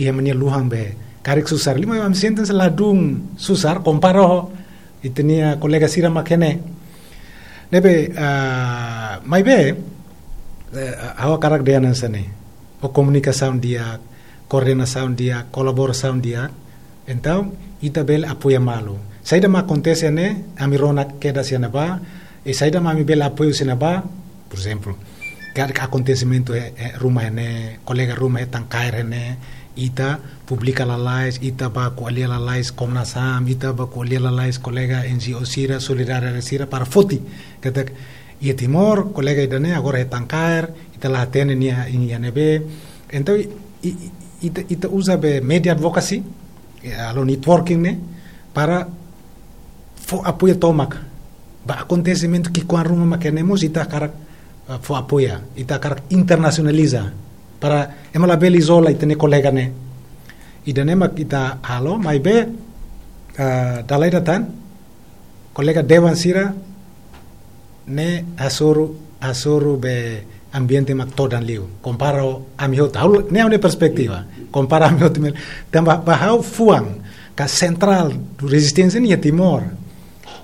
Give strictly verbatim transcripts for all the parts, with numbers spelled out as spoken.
iha ema nia luhan be karik susar. Liu mai ami sente hanesan ladún susar, kompara ho ita-nia kolega sira mak ne'e. Ne'ebé, ah, maibé, eh, ha'u hakarak dehan hanesan ne'e. Ho komunikasaun di'ak, koordenasaun di'ak, kolaborasaun di'ak. Entaun, ita bele apoia malu. Saida mak akontese ne'e, ami rona kedas iha ne'ebá, i saida mak ami bele apoiu iha ne'ebá, por ezemplu, karik akontesimentu iha, iha ruma ne'e, kolega ruma hetan kaer ne'e, ita publika lalais, ita bá ko'alia lalais Komnas HAM, ita bá ko'alia lalais kolega N G O sira, solidariedade sira para foti. Katak, iha Timor, kolega ida-ne'e agora hetan kaer, ita la hatene nia iha ne'ebé. Entaun, i, i, ita, ita uza be media advocacy, eh, halo networking ne'e, para fó apoiu tomak. Ba akontesimentu ki'ikoan ruma mak ne'e mós ita hakarak, eh, fó apoiu, ita hakarak internasionaliza. Para ema labele izola ita-nia kolega ne'e. Ida-ne'e mak ita halo, maibé, eh, dala ida tan, kolega dewan sira ne'e hasoru, hasoru be ambiente mak todan liu. Kompara ho ami hotu, ha'u, ne'e ha'u-nia perspetiva. Kompara ami hotu mel. Tanba ba ha'u fuan ka sentrál rezisténsia ne'e iha Timor.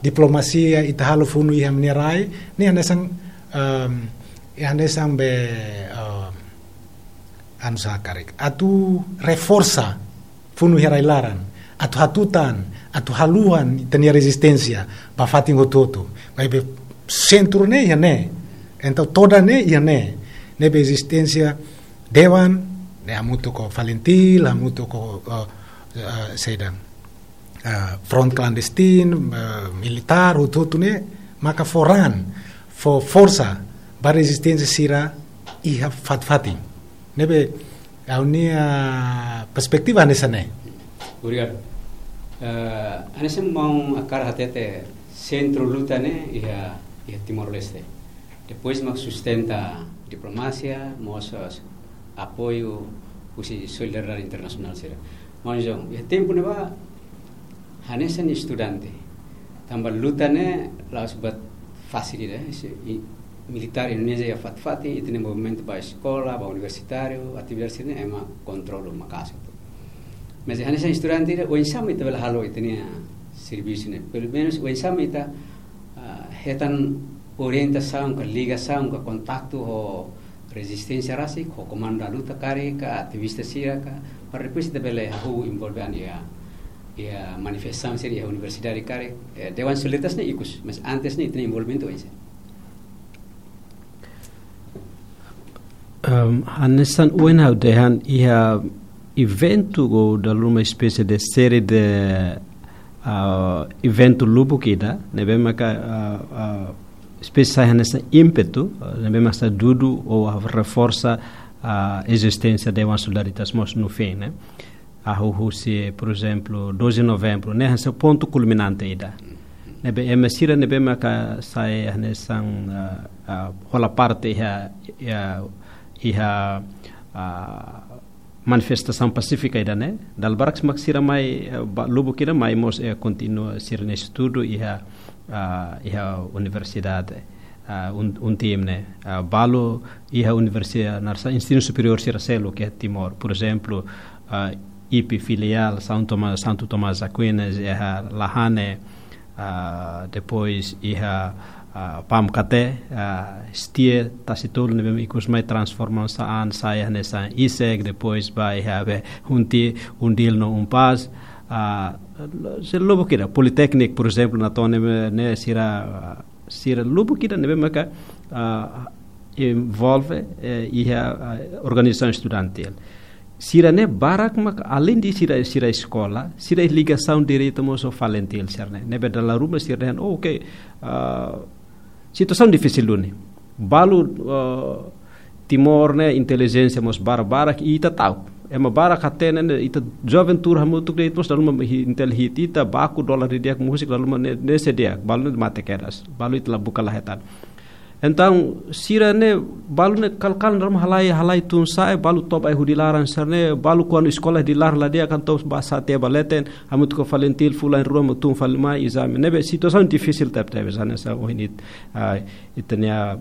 Diplomasia ita halo funu iha ami-nia rai, ne'e hanesan, em, iha hanesan be, em, anu sá karik. Atu reforsa funu iha rai-laran, atu hatutan, atu haluhan ita-nia rezisténsia ba fatin hotu-hotu. Maibé sentru ne'e iha ne'e, entaun todan ne'e iha ne'e. Ne'ebé ezisténsia dewan ne'e hamutuk ho FALINTIL, hamutuk ho, eh, eh, saida, eh, front clandestino, eh, militár, hotu-hotu ne'e maka fó ran, fó forsa ba rezisténsia sira iha fatin-fatin. Ne'ebé, ha'u-nia perspetiva hanesan ne'e. Obrigadu. Eh, hanesan maun hakarak hatete, sentru luta ne'e iha, iha Timor-Leste. Depois mak sustenta diplomasia, mós apoiu husi solidariedade internasionál sira. Maun João, iha tempu ne'ebá, hanesan estudante, tanba luta ne'e la'ós buat fasil ida, se i-, militár Indonézia iha fatin-fatin, ita-nia movimentu ba eskola, ba universitáriu, atividade sira-ne'e ema kontrola maka'as hotu. Mas hanesan estudante ida, oinsá mak ita bele halo ita-nia servisu ne'e. Pelumenus oinsá mak ita, ah, hetan orientasaun, ka ligasaun, ka kontaktu ho rezisténsia rasik, ho komandu da luta karik, ka ativista sira ka, para depois ita bele hahú envolve an iha, iha manifestasaun sira iha universidade karik, eh, Dewan Solidaritas ne'e ikus, mas antes ne'e ita-nia envolvimentu oinsá. Em, hanesan ohin ha'u dehan iha eventu ou dala ruma espésie de série de, ah, eventu lubuk ida, ne'ebé maka, ah, ah, espésie sai hanesan ímpetu, ah, ne'ebé maka dudu ou reforsa, ah, ezisténsia Dewan Solidaritas mós no fim, ne'e. Hahú husi, por ezemplu, doze de novembru, ne'e hanesan pontu kulminante ida. Ne'ebé ema sira ne'ebé maka sai hanesan, ah, ah, hola parte iha, iha, iha, ah, manifestasaun pasífika ida-ne'e. Dala barak mak sira mai, eh, ba lubuk ida mai mós, eh, kontinua sira-nia estudu iha, ah, iha universidade. Ah, un, UNTIM ne'e. Ah, balu iha universidade, hanesan ensinu superiór sira seluk iha Timor. Por ezemplu, ah, IPE filiál São Tomás, Santo Tomás Aquinas, iha Lahane, ah, depois iha, ah, PAMKT, ah, STIE, Tasitolu, ne'ebé ikus mai transforma sa'e an, sai hanesan ISEG, depois ba iha be UNTI, UNDIL no UNPAZ, ah, se lubuk ida, Politékniku, por ezemplu, Natone ne'e, ne'e sira, ah, sira lubuk ida ne'ebé maka, ah, envolve, eh, iha, ah, organizasaun estudantil. Sira-ne'e barak mak além de sira, sira eskola, sira ligasaun direta mós ho FALINTIL sira-ne'e. Ne'ebé dala ruma sira dehan, oh, oke, ah, situasaun difisil duni. Balu, ah, Timor ne'e intelijénsia mós barak-barak, i ita ta'uk. Ema barak hatene ne'e, ita joven tuur hamutuk de'it mós dala ruma hi-, intel hit ita, baku dolar didi'ak, múzika dala ruma ne'e, ne'e sei di'ak, balu ne'e mate kedas, balu ita la buka la hetan. Entaun, sira-ne'e, balu ne'e kal-kal dala ruma halai, halai tun sa'e, balu toba ai hudi laran sira-ne'e, balu kuandu eskola di lar la di'ak, entaun ba sa'e tiha ba leten, hamutuk ho FALINTIL fulan rua mak tun fali mai ezame. Ne'ebé situasaun difisil tebetebes, hanesan ohin it-, ah, ita-nia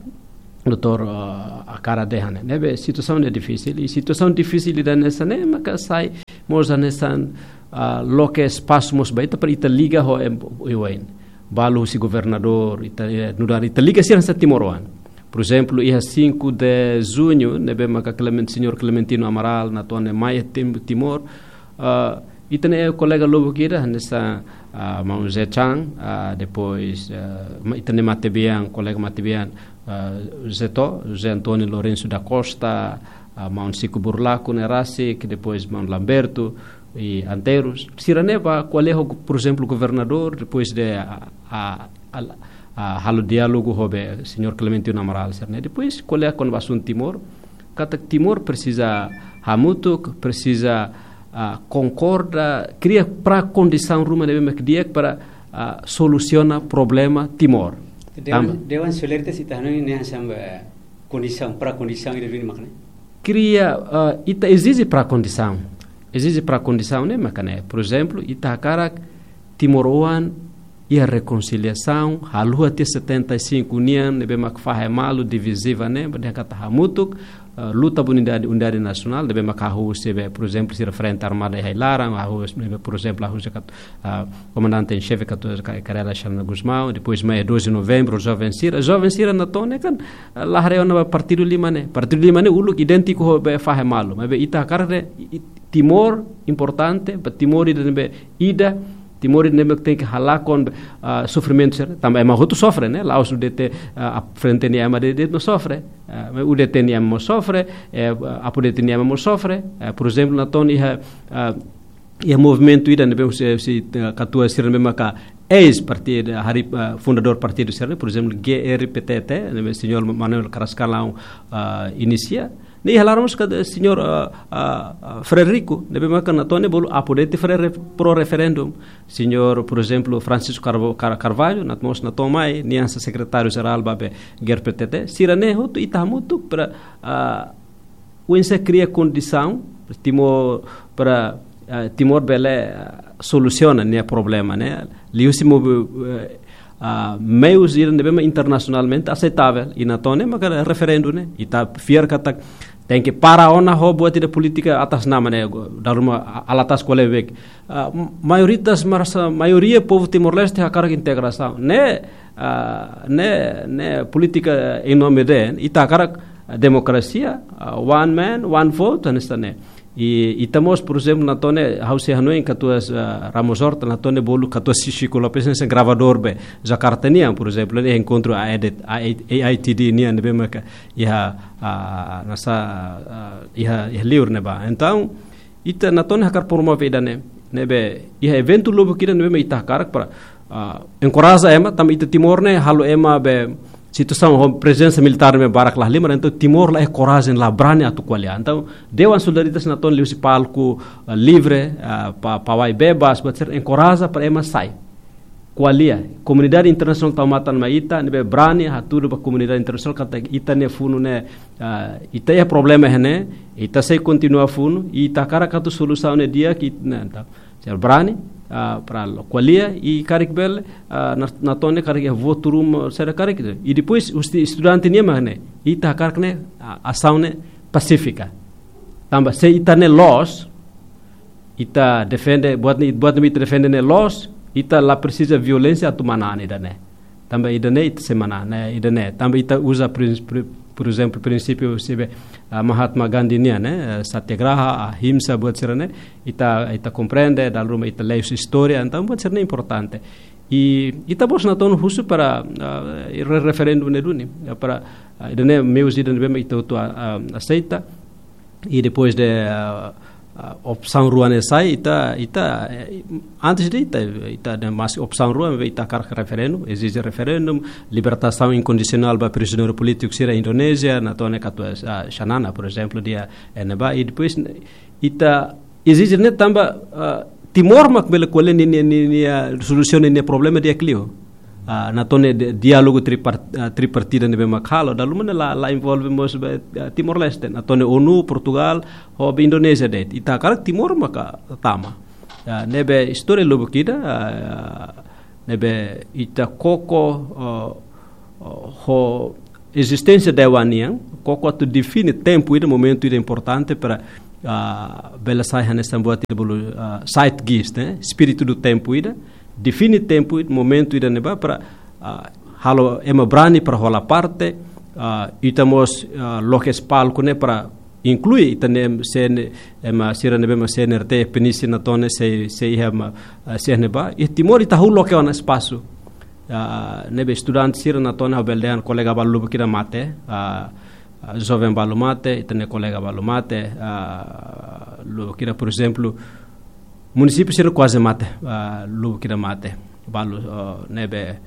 doutór, ah, hakarak dehan ne'e. Ne'ebé situasaun ne'e difisil, i situasaun difisil ida hanesan ne'e maka sai Mós hanesan, ah, loke espasu mós ba ita para ita liga ho em, iwain. Balu husi governadór, ita, eh, nu'udar ita liga sira hanesan timoroan. Por ezemplu, iha cinco de junho, ne'ebé maka Clement-, señór Clementino Amaral, Natone mai Tim-, Timor, ah, ita-nia kolega lubuk ida, hanesan, ah, maun Zé Chan, ah, depois, ah, ma-, ita-nia matebian, kolega matebian, ah, Zé To, Zé António Lourenço da Costa, ah, maun Chico Burlaco ne'e rasik, depois maun Lamberto, i Antero. Sira-ne'e bá ko'alia ho, por ezemplu, governadór, depois de, ah, ah, ah, ah, halo diálogu ho be señór Clementino Amaral sira-ne'e. Depois ko'alia kona-ba asuntu Timor, katak Timor presiza hamutuk, presiza, ah, konkorda, kria pra-kondisaun ruma ne'ebé mak di'ak para, ah, solusiona problema Timor. Dewan, tanba dewan solidaritas ita hanoin ne'e hanesan, eh, kondisaun, pra-kondisaun ida duni mak ne'e? Kria, ah, ita ezije pra-kondisaun. Ezije pra-kondisaun ne'e maka ne'e. Por ezemplu, ita hakarak timoroan iha rekonsiliasaun, haluha tiha setenta e cinco nian, ne'ebé mak fahe malu, diviziva ne'e, ba dehan katak hamutuk, eh, luta ba unidade, unidade nasionál, ne'ebé mak hahú husi be, por ezemplu, sira Frente Armada iha ai-laran, hahú husi be, por ezemplu, hahú husi kat-, ah, komandante em xefe katuas ka-, Karela Xanana Gusmão, depois mai doze de novembro, joven sira, joven sira Natone kan, ah, la haree ona ba partidu lima ne'e. Partidu lima ne'e uluk idéntiku ho be fahe malu, maibé ita hakarak ne'e, i-, Timor importante, ba Timor ida ne'ebé ida, Timor ida ne'ebé tenke halakon, ah, sofrimentu sira, tanba ema hotu sofre, ne'e? La'ós U D T, ah, ap-, frente nia ema de'it, de'it mak sofre. Ah, maibé U D T nia ema mós sofre, eh, APODETI nia ema mós sofre. Eh, por ezemplu, Natone iha, ah, iha movimentu ida ne'ebé husi, husi, eh, katuas sira ne'ebé maka eis partidu, harii, ah, fundadór partidu sira-ne'e, por ezemplu, G R P T T, ne'ebé señór Manuel Carrascalão, ah, inisia. Ne'e iha laran mós kada señór, ah, ah, ah, Frederico, ne'ebé maka Natone bolu APODETI fre-, re-, pro-referendum. Señór, por ezemplu, Francisco Carvo-, Car-, Carvalho, Nat-, mós Natone mai, nia hanesan sekretáriu jerál ba be G R P T T. Sira-ne'e hotu ita hamutuk para, ah, oinsá kria kondisaun Timor para, ah, Timor bele, ah, solusiona nia problema ne'e. Liuhusi mo-, eh, ah, meius ida ne'ebé mak internasionalmente aseitável. I Natone maka referendu ne'e. Ita fiar katak tenke para ona ho buat ida polítika atas nama ne'e. Dala ruma a-, alatas ko'alia bek. Ah, m-, maioritas merasa, maioria povu Timor-Leste hakarak integrasaun. Ne'e, ah, ne'e, ne'e polítika em nome de, ita hakarak demokrasia, ah, one man, one vote, hanesan ne'e. I, ita mós, por ezemplu, Natone, ha'u sei hanoin katuas, ah, Ramos Horta, Natone bolu katuas Chico Lopes, hanesan gravadór be Jakarta nian, por ezemplu, ne'e enkontru A I D, A I, A I T D nian, ne'ebé maka iha, ah, hanesan, ah, iha, iha liur ne'ebá. Entaun, ita Natone hakarak promove ida-ne'e, ne'ebé iha eventu lubuk ida ne'ebé mak ita hakarak para, ah, enkoraja ema, tanba ita Timor ne'e halo ema be situasaun ho prezensa militár ne'ebé barak lahalimar, entaun Timor la iha korajen, la brani atu ko'alia. Entaun, Dewan Solidaritas Natone liuhusi palku, ah, livre, ah, pa-, pawai bebas, buat sira enkoraja para ema sai ko'alia. Komunidade internasionál tau matan mai ita, ne'ebé brani hatudu ba komunidade internasionál katak ita-nia funu ne'e, ah, ita iha problema iha ne'e, ita sei kontinua funu, i ita hakarak atu solusaun ne'e di'ak, i ne'e, entaun. Sira brani, ah, para ko'alia, i karik bele, ah, Nat-, Natone karik iha votu ruma, sira karik. I depois, husi estudante nian mak ne'e, ita hakarak ne'e, ah, asaun ne'e pasífika. Tanba se ita ne'e loos, ita defende, buat ne'e, buat ne'ebé ita defende ne'e loos, ita la presiza violénsia atu manán ida-ne'e. Tanba ida-ne'e ita sei manán, ne'e, ida-ne'e. Tanba ita uza prin-, pri-, por ezemplu, prinsípiu husi be, ah, Mahatma Gandhi nian, ne'e, eh, satyagraha, ahimsa, buat sira-ne'e, ita, ita komprende, dala ruma ita lee husi istória, entaun buat sira-ne'e importante. I ita mós Natone husu para, ah, re-, referendu ne'e duni, ya, para, ah, ida-ne'e meius ida ne'ebé mak ita hotu, ah, ah, aseita. I depois de, ah, ah, opsaun rua ne'e sai, ita, ita, eh, antes de ita, ita de mas opsaun rua, ita hakarak referendu, ezije referendu, libertasaun inkondisionál ba prizioneiru polítiku sira Indonézia, Natone katuas, ah, Xanana, por ezemplu, dehan ne'ebá, i depois ita ezije ne'e tanba, ah, Timor mak bele ko'alia nia, nia, nia, nia, ah, solusiona nia problema di'ak liu. Ah, Natone de, diálogu tripar-, ah, tripartida ne'ebé mak halo, dala ruma ne'e la, la envolve mós be, ah, Timor-Leste. Natone ONU, Portugal, ho be Indonézia de'it. Ita hakarak Timor maka tama. Ah, ne'ebé istória lubuk ida, ah, ne'ebé ita koko, ah, ah, ho ezisténsia dewan nian, koko atu define tempu ida, momentu ida importante para ah, bele sai hanesan buat ida bolu, ah, zeitgeist, ne'e? Espíritu do tempo ida, define tempu ida, momentu ida ne'ebá para, ah, halo ema brani para hola parte, ah, ita mós, ah, loke palku ne'e para inklui ita-nia C N, ema sira ne'ebé mak C N R T, P N I C natoon ne'e sei, sei iha ema, ah, C N ba. Iha Timor ita hahú loke ona espasu. Ah, ne'ebé estudante sira natoon ne'e ha'u bele dehan kolega balu lubuk ida mate, ah, ah, joven balu mate, ita-nia kolega balu mate, ah, lubuk ida, por ezemplu, munisípiu sira kuaze mate, ah, lubuk ida mate. Balu, ah, ne'ebé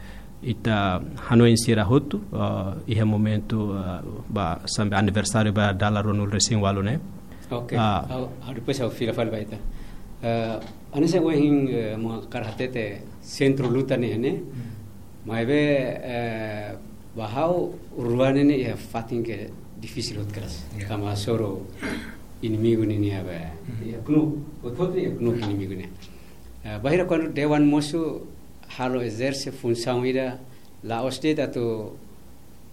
ita hanoin sira hotu, ah, iha momentu, ah, ba sampai aniversáriu ba dala ruanulu-resin-ualu ne'e. Oke. Ah. Ha'u, ha'u depois ha'u fila fali ba ita. Eh, hanesan ohin, eh, maun hakarak hatete sentru luta ne'e, ne'e? Hmm. Maibé, eh, ba ha'u rua ne'e ne'e iha fatin ke difisil hotu kedas. Ya. Tanba hasoru inimigu ne'e, ne'e iha be. Hmm. Iha KNUK, hotu-hotu iha KNUK, hmm, inimigu ne'e. Eh, bainhira kuandu dewan mosu halo ezerse funsaun ida la'ós de'it atu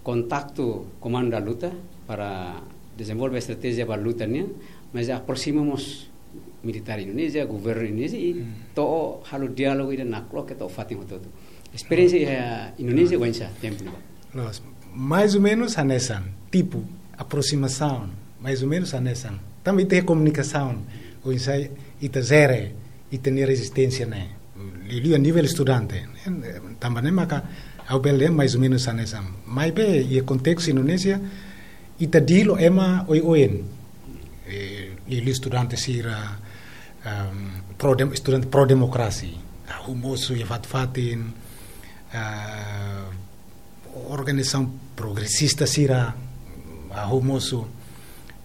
kontaktu Comando da Luta para dezenvolve estratéjia ba luta nian, mas aproxima mós militár Indonézia, governu Indonézia, i, hmm, to'o halo diálogu ida nakloke to'o fatin hotu-hotu. Esperiénsia iha Indonézia oinsá tempu ne'ebá? Loos, mais ou menus hanesan, tipu, aproximasaun, mais ou menus hanesan. Tanba ita komunikasaun, oinsá ita jere ita-nia rezisténsia ne'e. Liuliu a nivel estudante. Tanba ne'e maka ha'u bele dehan mais ou menus hanesan. Maibé, iha kontestu Indonézia, ita dilo ema oioin. Eh, liuliu estudante sira, ehm, pro dem-, estudante pro-demokrasia. Hahú mosu iha fatin-fatin, ah, organizasaun progresista sira, hahú mosu.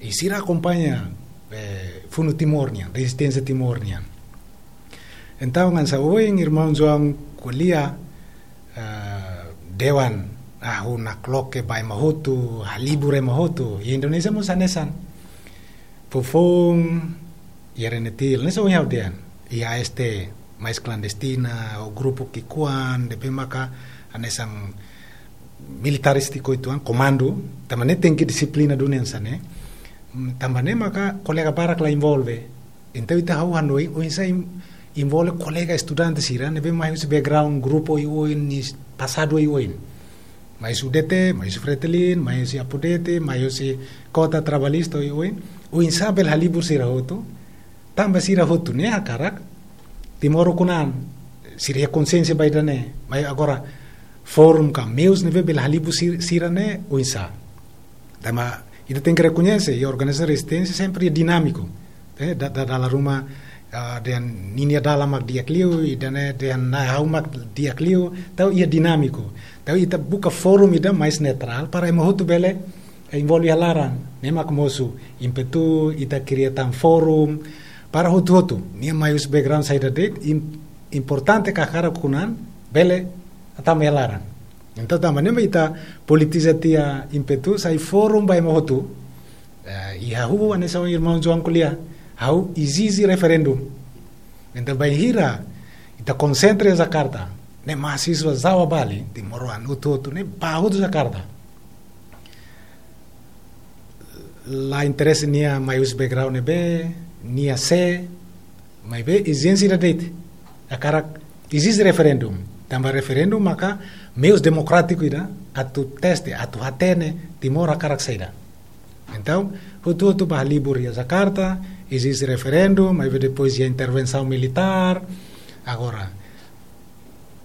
I sira akompaña, eh, Funu Timor nian, rezisténsia Timor nian. Entaun, hanesan ohin irmaun João ko'alia, eh, dewan, hahú nakloke ba ema hotu, halibur ema hotu. Iha Indonézia mós hanesan. Foufoun, iha Renetil, hanesan ohin ha'u dehan. Iha A S T, mais klandestina, ou grupu ki'ikoan, ne'ebé maka hanesan militarístiku uitoan, komandu, tanba ne'e tenke dixiplina duni hanesan ne'e. Tanba ne'e maka kolega barak la envolve. Entaun ita hahú hanoin, oinsá en-, envolve kolega estudante sira, ne'ebé mai husi background, grupu oioin, nia pasadu oioin. Mai husi U D T, mai husi Fretilin, mai husi Apodeti, mai husi Kota Trabalhista oioin. Oinsá bele halibur sira hotu, tanba sira hotu ne'e hakarak Timor ukun-an, sira iha konxiénsia ba ida-ne'e, maibé agora forum ka meius ne'ebé bele halibur sir-, sira ne'e oinsá. Tanba ita tenke rekoñese, iha organizasaun rezisténsia sempre dinámiku. Eh, da, da, dala ruma, ah, dehan ninia dalan mak di'ak liu, ida-ne'e dehan ha'u mak di'ak liu, entaun iha dinámiku. Entaun ita buka forum ida mais neutrál para ema hotu bele, eh, envolve iha laran. Ne'e mak mosu ímpetu ita kria tan forum para hotu-hotu. Nia mai husi background saida de'it, im-, importante ka hakarak ukun-an, bele hatama iha laran. Entaun, tanba ne'e mak ita politiza tiha ímpetu, sai forum ba ema hotu. Eh, i ha'u hanesan irmaun João ko'alia, ha'u ezije referendum. Entaun, bainhira ita konsentra iha Jakarta, ne'e mahasiswa Jawa Bali, timoroan hotu-hotu, ne'e bá hotu Jakarta. La interese nia mai husi background ne'ebé, nia sé, maibé ezijénsia ida de'it. Hakarak ezije referendum. Tanba referendum maka meius demokrátiku ida atu teste, atu hatene Timor hakarak saida. Entaun, hotu-hotu bá halibur iha Jakarta, ezije referendum, maibé depois iha intervensaun militár. Agora,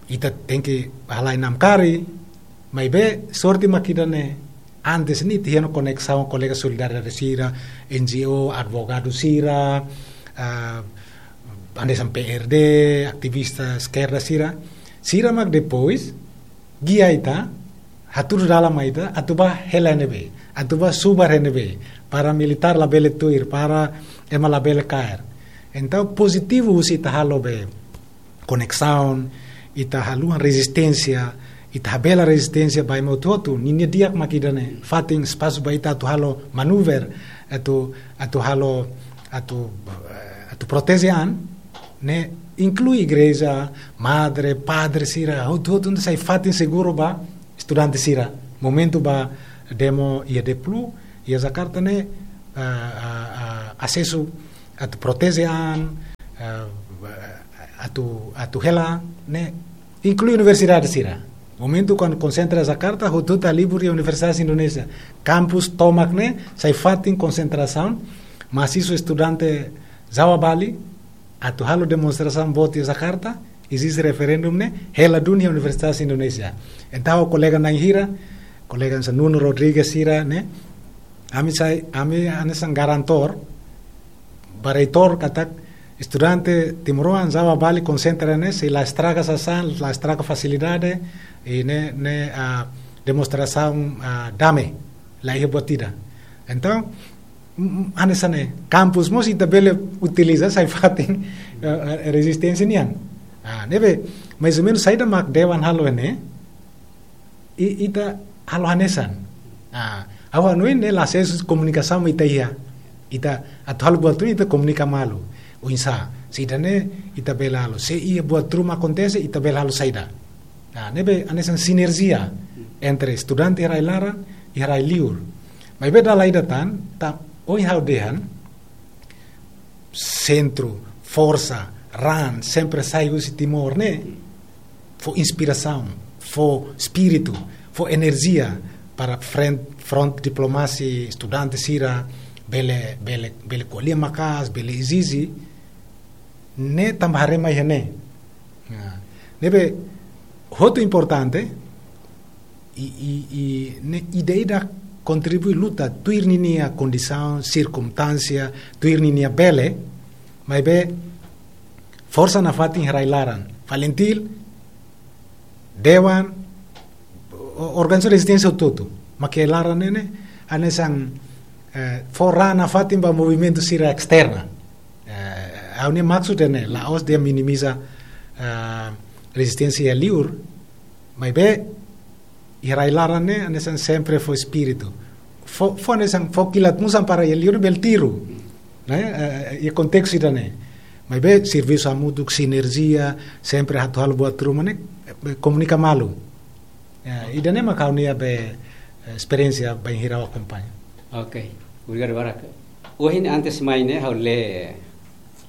ita tenke halai namkari, maibé sorte mak ida-ne'e, antes ne'e ita iha ona koneksaun kolega solidariedade sira, N G O, advogadu sira, ah, hanesan P R D, ativista eskerda sira, sira mak depois gia ita, hatudu dalan mai ita, atu bá hela iha ne'ebé, atu bá subar iha ne'ebé, para militár labele tuir, para ema labele kaer. Entaun, pozitivu husi ita halo be koneksaun, ita haluha rezisténsia, ita habela rezisténsia ba ema hotu-hotu, ninia di'ak mak ida-ne'e, fatin espasu ba ita atu halo manuver, atu, atu halo, atu, eh, atu proteje an, ne'e inklui igreja, madre, padre sira, hotu-hotu atu sai fatin seguru ba estudante sira. Momentu ba demo iha Deplu, iha Jakarta ne'e, ah, ah, ah, asesu atu proteje an, eh, atu, atu hela, ne'e, inklui universidade sira. Momentu kuandu konsentra Jakarta, hotu-hotu halibur iha universidade Indonézia. Kampus tomak ne'e, sai fatin konsentrasaun, mahasiswa estudante Jawa Bali, atu halo demonstrasaun boot iha Jakarta, ezije referendum ne'e, hela duni iha universidade Indonézia. Entaun, kolega na'in hira, kolega hanesan Nuno Rodrigues sira ne'e, ami sai, ami hanesan garantor, ba reitór katak estudante timoroan Jawa Bali konsentra ne'e, sei la estraga sasán, la estraga fasilidade, i ne'e, ne'e, ah, demonstrasaun, ah, dame, la iha buat ida. Entaun, mm, mm, hanesan ne'e, kampus mós ita bele utiliza sai fatin, eh, eh, rezisténsia nian. Ah, ne'ebé, mais ou menus saida mak dewan halo ne'e, i, ita halo hanesan. Ah, ha'u hanoin ne'e la asesu komunikasaun mak ita iha. Ita atu halo buat ruma ita komunika malu. Oinsá, se ida-ne'e ita bele halo. Se iha buat ruma akontese, ita bele halo saida. Ah, ne'ebé hanesan sinerjia entre estudante iha rai-laran, iha rai-liur. Maibé dala ida tan, ta, ohin ha'u dehan, sentru, forsa, raan, sempre sai husi Timor ne'e, fó inspirasaun, fó espíritu, fó enerjia para front, front diplomasi, estudante sira, bele, bele, bele ko'alia maka'as, bele ezije, ne'e tanba haree mai iha ne'e. Ya. Ne'ebé, hotu importante, i, i, i, ne'e ida-idak kontribui luta, tuir ninia kondisaun, sirkunstánsia, tuir ninia bele, maibé forsa nafatin iha rai-laran. FALINTIL, dewan, o-, organizasaun rezisténsia hotu-hotu. Mak iha laran ne'e, hanesan, eh, fó raan nafatin ba movimentu sira esterna. Eh, ha'u-nia maksud ne'e, la'ós dehan minimiza, eh, rezisténsia iha liur, maibé, iha rai-laran ne'e, hanesan sempre fó espíritu. Fó, fó hanesan, fó kilat-musan para iha liur bele tiru. Ne'e, eh, iha kontestu ida-ne'e. Maibé, servisu hamutuk, sinerjia, sempre atu halo buat ruma ne'e, eh, komunika malu. Ya, ida-ne'e mak ha'u-nia be, eh, esperiénsia bainhira ha'u akompaña. Ok, obrigadu barak. Ohin antes mai ne'e, ha'u lee,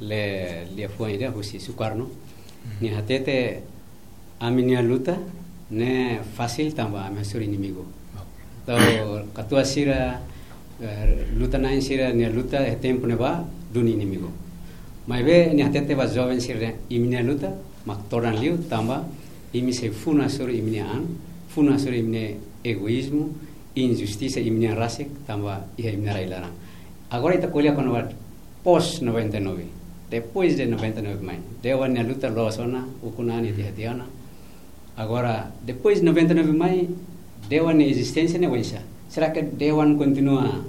lee, lee liafuan ida husi Sukarno. Hmm. Nia hatete, ami-nia luta ne'e fasil tanba ami hasoru inimigu. Ok. Entaun, katuas sira, eh, luta-na'in sira-nia luta iha tempu ne'ebá duni inimigu. Maibé, nia hatete ba joven sira, imi-nia luta mak todan liu tanba imi sei funu hasoru imi-nia an, funu hasoru imi-nia egoízmu, injustisa imi-nia an rasik tanba iha imi-nia rai-laran. Agora ita ko'alia kona-ba pós noventa e nove. Depois de noventa e nove mai. Dewan nia luta loos ona, ukun an nia tiha-tiha ona. Agora, depois de noventa e nove mai, dewan nia ezisténsia ne'e oinsá? Será que dewan kontinua,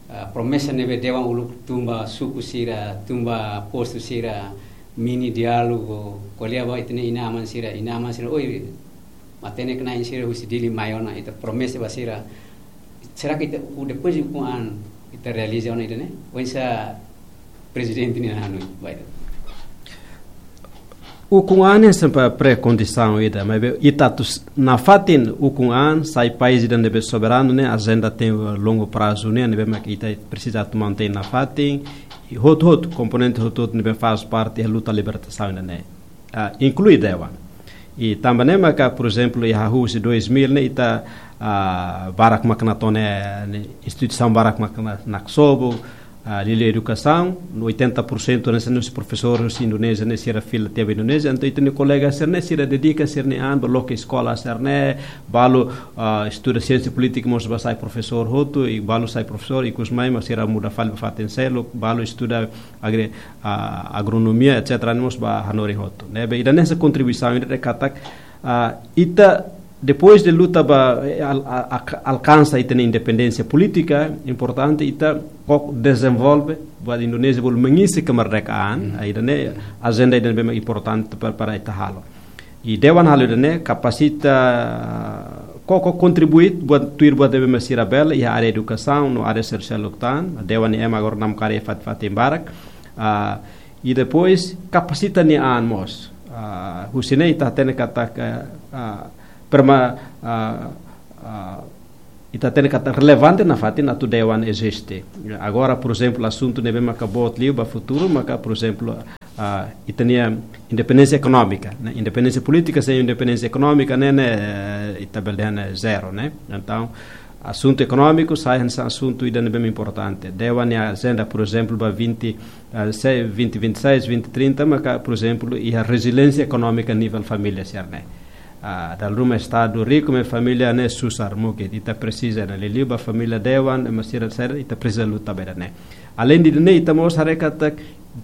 ah, promesa ne'ebé dewan uluk tun ba suku sira, tun ba postu sira, mini diálogu, ko'alia ba ita-nia inan-aman sira, inan-aman sira, oi, matenek-na'in sira husi Dili mai ona, ita promesa ba sira. Será que ita, u-, depois de ukun an, ita realiza ona ida-ne'e? Oinsá prezidente nia hanoin, ba ida? Ukun an ne'e sempre pré-kondisaun ida, maibé ita atu s-, nafatin ukun an, sai país ida ne'ebé soberanu ne'e, ajenda tenke longu prazu ne'e, ne'ebé mak ita presiza atu mantein nafatin, i hotu-hotu, komponente hotu-hotu ne'ebé faz parte iha luta libertasaun ida-ne'e. Ah, inklui dewan. I tanba ne'e maka, por ezemplu, iha husi dois mil ne'e ita, ah, barak mak nakonu, ne'e, instituisaun barak mak na-, naksobu, ah, liuliu edukasaun, no oitenta por cento ne'e, sei husi profesór husi Indonézia ne'e, sira fila tiha ba Indonézia, entaun ita-nia kolega sira-ne'e, sira dedika sira-nia an ba loke eskola sira-ne'e, balu, ah, estuda siénsia polítika mós ba sai profesór hotu, i balu sai profesór, ikus mai mak sira muda fali ba fatin seluk, balu estuda agri-, ah, agronomia, et cetera, ne'e mós ba hanorin hotu. Ne'ebé, ida-ne'e hanesan kontribuisaun ida katak, ah, ita, depois de luta ba, eh, al-, a-, a-, alkansa ita-nia independénsia polítika, importante ita koko dezenvolve, buat Indonézia bolu mengisi kemerdekaan, hmm, ah, ida-ne'e ajenda ida-ne'ebé importante para, para ita halo. I dewan halo ida-ne'e kapasita, koko kontribui buat tuir buat ne'ebé mak sira bele iha área edukasaun no área sosiál hotu tan, dewan ne'e ema agora namkari fatin-fatin barak. Ah, i depois kapasita nia an mós. Ah, husi ne'e ita hatene katak, ah, perma-, ah, ah, Ita hatene katak relevante nafatin atu dewan eziste. Agora, por ezemplu, asuntu ne'ebé maka boot liu ba futuru, maka, por ezemplu, ah, ita-nia independénsia ekonómika, ne'e. Independénsia polítika, sem independénsia ekonómika, ne'e, ne'e, eh, ita bele dehan ne'e zero, ne'e. Entaun, asuntu ekonómiku sai hanesan asuntu ida ne'ebé importante. Dewan nia ajenda, por ezemplu, ba vinte, ah, se-, vinte vinte e seis, vinte trinta, maka, por ezemplu, iha reziliénsia ekonómika nivel família sira-ne'e. Ah, dala ruma estadu riku, maibé família ne'e susar mukit. Ita presiza, ne'e, liuliu ba família dewan, ema sira, sira, ita presiza luta ba ida-ne'e. Além de ne'e, ita mós haree katak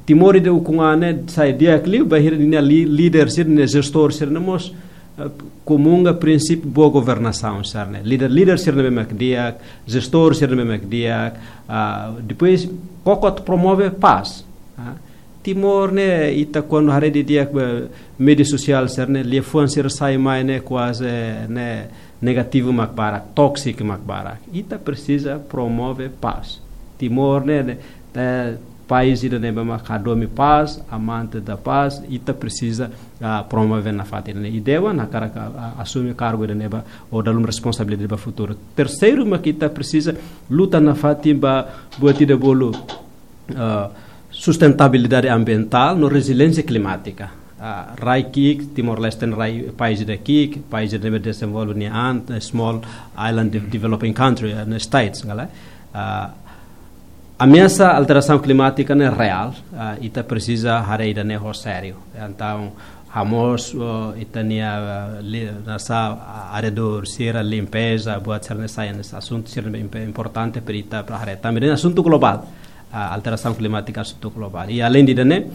Timor ida ukun an ne'e sai di'ak liu bainhira ninia li-, líder sira-ne'e, jestór sira-ne'e mós, eh, komunga prinsípiu boa governasaun sira-ne'e. Líder, líder sira-ne'e mak di'ak, jestór sira-ne'e mak di'ak, ah, depois koko atu promove pás. Ah, Timor ne'e, ita kuandu haree didi'ak ba média sosiál sira-ne'e, liafuan sira sai mai ne'e kuaze ne'e negativu mak barak, tóksiku mak barak. Ita presiza promove pás. Timor ne'e, ne'e, eh, país ida ne'ebé mak hadomi pás, amante da paz, ita presiza, ah, promove nafatin ne'e. I dewan hakarak, ah, asume kargu ida-ne'e ba, ou dala ruma responsabilidade ba futuru. Terseiru mak ita presiza luta nafatin ba buat ida bolu, ah, sustentabilidade ambientál no reziliénsia klimátika. Ah, rai ki'ik, Timor-Leste rai país ida ki'ik, país ida ne'ebé dezenvolve nian, eh, small island de-, developing country, eh, ne'e states, ngala. Ah, ameasa alterasaun klimátika ne'e reál, ah, ita presiza haree ida-ne'e ho sériu. Entaun, hamoos, oh, ita-nia, ah, li-, hanesan, ah, arredór sira, limpeza, buat sira-ne'e sai hanesan asuntu sira ne'ebé imp-, importante para ita para haree. Tanba ne'e asuntu globál, ah, alterasaun klimátika asuntu globál. I além de ne'e,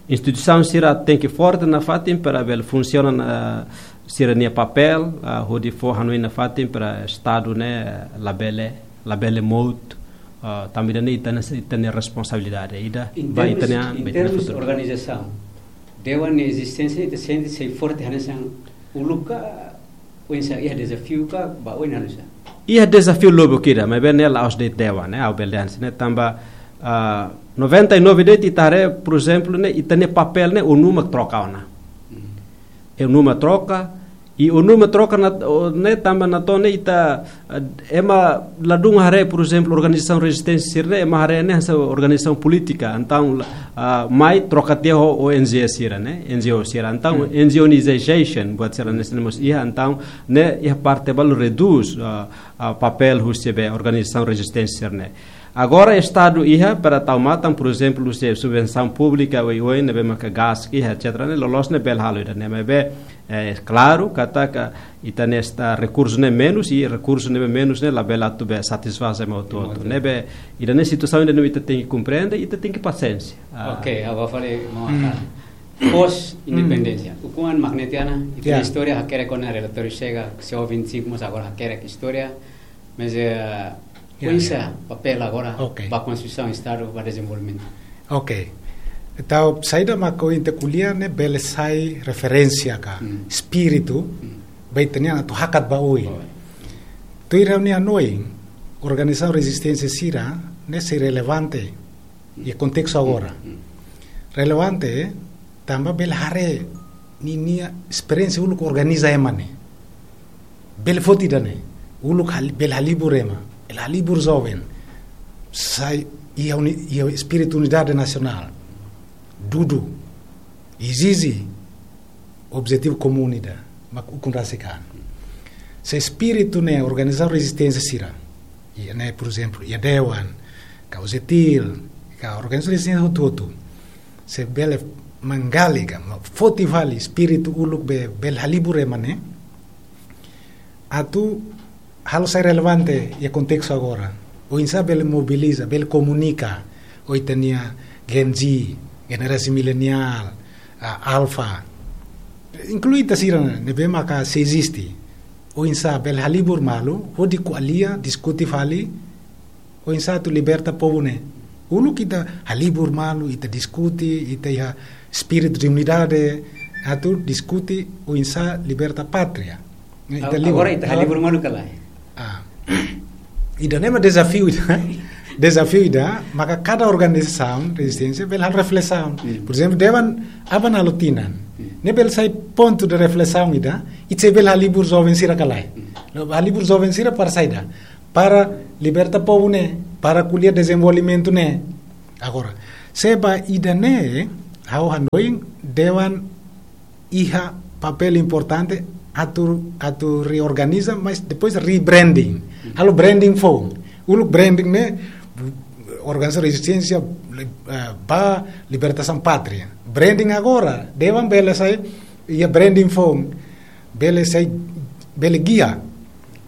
instituisaun sira tenke forte nafatin para bele funsiona, ah, sira-nia papél, ah, hodi fó hanoin nafatin para estadu ne'e labele, labele mout, ah, tanba ne'e ita-nia, ita-nia responsabilidade ida, em ba termos, ita-nia, em ba ita-nia termos futuru. Organizasaun, dewan nia ezisténsia ita sente sei forte hanesan uluk ka, oinsá, iha dezafiu ka, ba oin hanesan? Iha dezafiu lubuk ida, maibé ne'e la'ós de'it dewan, ne'e, ha'u bele dehan hanesan ne'e, tanba, ah, noventa e nove de'it ita haree, por ezemplu, ne'e, ita-nia papél ne'e ONU mak troka ona. Hmm. ONU mak troka, i ONU mak troka ne'e, o, ne'e tanba natoon ne'e ita, eh, ema ladún haree, por ezemplu, organizasaun rezisténsia sira-ne'e, ema haree ne'e hanesan organizasaun polítika, entaun, ah, mai troka tiha ho, ho N G O sira, ne'e, N G O sira. Entaun, Hmm. N G O nization, buat sira-ne'e hanesan ne'e mós iha, entaun, ne'e iha parte balu redús, ah, ah, papél husi be organizasaun rezisténsia sira-ne'e. Agora, estadu iha para tau matan, por ezemplu, husi subvensaun públika, oioin, ne'ebé maka gás, iha, et cetera, ne'e, loloos ne'e bele halo ida-ne'e, maibé, eh, klaru, katak ita-nia rekursu ne'e menus, i rekursu ne'e menus ne'e labele atu be satisfás ema hotu-hotu. Ema hotu. Ne'ebé, ida-ne'e situasaun ida ne'ebé ita tenke komprende, ita tenke pasiénsia. Ah. Ok, agora fali, maun Akar. Hmm. Pós independénsia. Hmm. Ukun an mak ne'e tiha ona, ita Ya. istória hakerek ona relatóriu chega, C O vinte e cinco, mas agora hakerek istória. Mas, eh, Ya, oinsá ya. papél agora Ok. ba konstrusaun estadu, ba dezenvolvimentu? Ok. Entaun, saida mak ohin ita ko'alia ne'e bele sai referénsia ka Hmm. espíritu, Hmm. ba ita-nia atu hakat ba oin. Boa. Tuir ha'u-nia hanoin, organizasaun rezisténsia sira-ne'e sei relevante iha kontestu agora. Hmm. Relevante, tanba bele haree ninia esperiénsia uluk organiza ema ne'e. Bele foti ida-ne'e. Uluk hal-, bele halibur ema. Bele halibur joven. Sai iha uni-, iha espíritu unidade nasionál. Dudu. Ezije objetivu komún ida. Mak ukun rasik an. Se espíritu ne'e organizasaun rezisténsia sira. Iha ne'e, por ezemplu, iha dewan, ka OJTIL, ka organizasaun rezisténsia hotu-hotu. Se bele manggalika, ma foti fali espíritu uluk be, bele halibur ema ne'e. Atu halo sai relevante iha kontestu agora. Oinsá bele mobiliza, bele komunika ho ita-nia Gen Z, generasi mileniál, ah, alfa. Inklui ita sira ne'ebé maka sei eziste. Oinsá bele halibur malu, hodi ko'alia, diskute fali, oinsá atu liberta povu ne'e. Uluk ita halibur malu, ita diskute, ita iha espíritu de unidade, atu diskute oinsá liberta pátria. Ita Ag-, liu. Agora ita halibur malu ka lae? Ah. Ida-ne'e mak dezafiu ida. Dezafiu ida, maka kada organizasaun rezisténsia bele halo reflesaun. Hmm. Por ezemplu, dewan aban halo tinan. Hmm. Ne'e bele sai pontu de reflesaun ida, ita sei bele halibur joven sira ka lae? Hmm. Halibur joven sira para saida? para liberta povu ne'e, para ko'alia dezenvolvimentu ne'e. Agora, se ba ida-ne'e, ha'u hanoin dewan iha papél importante atu, atu reorganiza, mas depois rebranding. Halo branding foun. Uluk branding ne'e, organizasaun rezisténsia, li-, eh, ba libertasaun pátria. Branding agora, dewan bele sai, iha branding foun, bele sai, bele gia,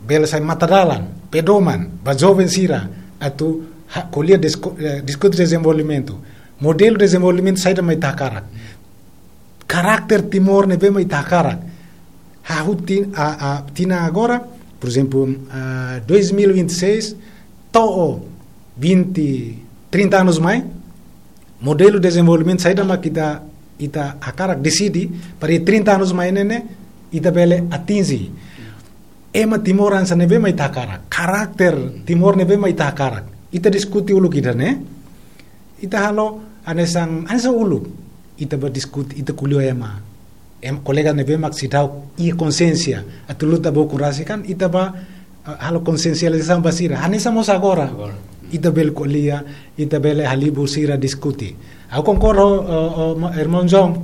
bele sai matadalan, pedoman, ba joven sira, atu ha-, ko'alia disko-, eh, diskute dezenvolvimentu. Modelu dezenvolvimentu saida mak ita hakarak. Karakter Timor ne'ebé mak ita hakarak. Hahú tin-, a, a, tinan agora, por ezemplu, a, dois mil e vinte e seis, to'o vinte, trinta anos mai, modelu dezenvolvimentu saida mak ita, ita hakarak deside, para trinta anos mai ne'e ne'e, ita bele atinje. Ema Timor hanesan ne'ebé mak ita hakarak, karakter Timor ne'ebé mak ita hakarak. Ita diskute uluk ida-ne'e, ita halo hanesan, hanesan uluk. Ita ba diskute, ita ko'alia ema. Em, kolega ne'ebé mak seidauk iha konsiénsia atu luta ba ukun rasik kan, ita ba, eh, halo konsiensializasaun ba sira. Hanesan mós agora. Agora. Ita bele ko'alia, ita bele halibur sira diskute. Ha'u konkorda ho, ho, ho, ma-, irmaun John.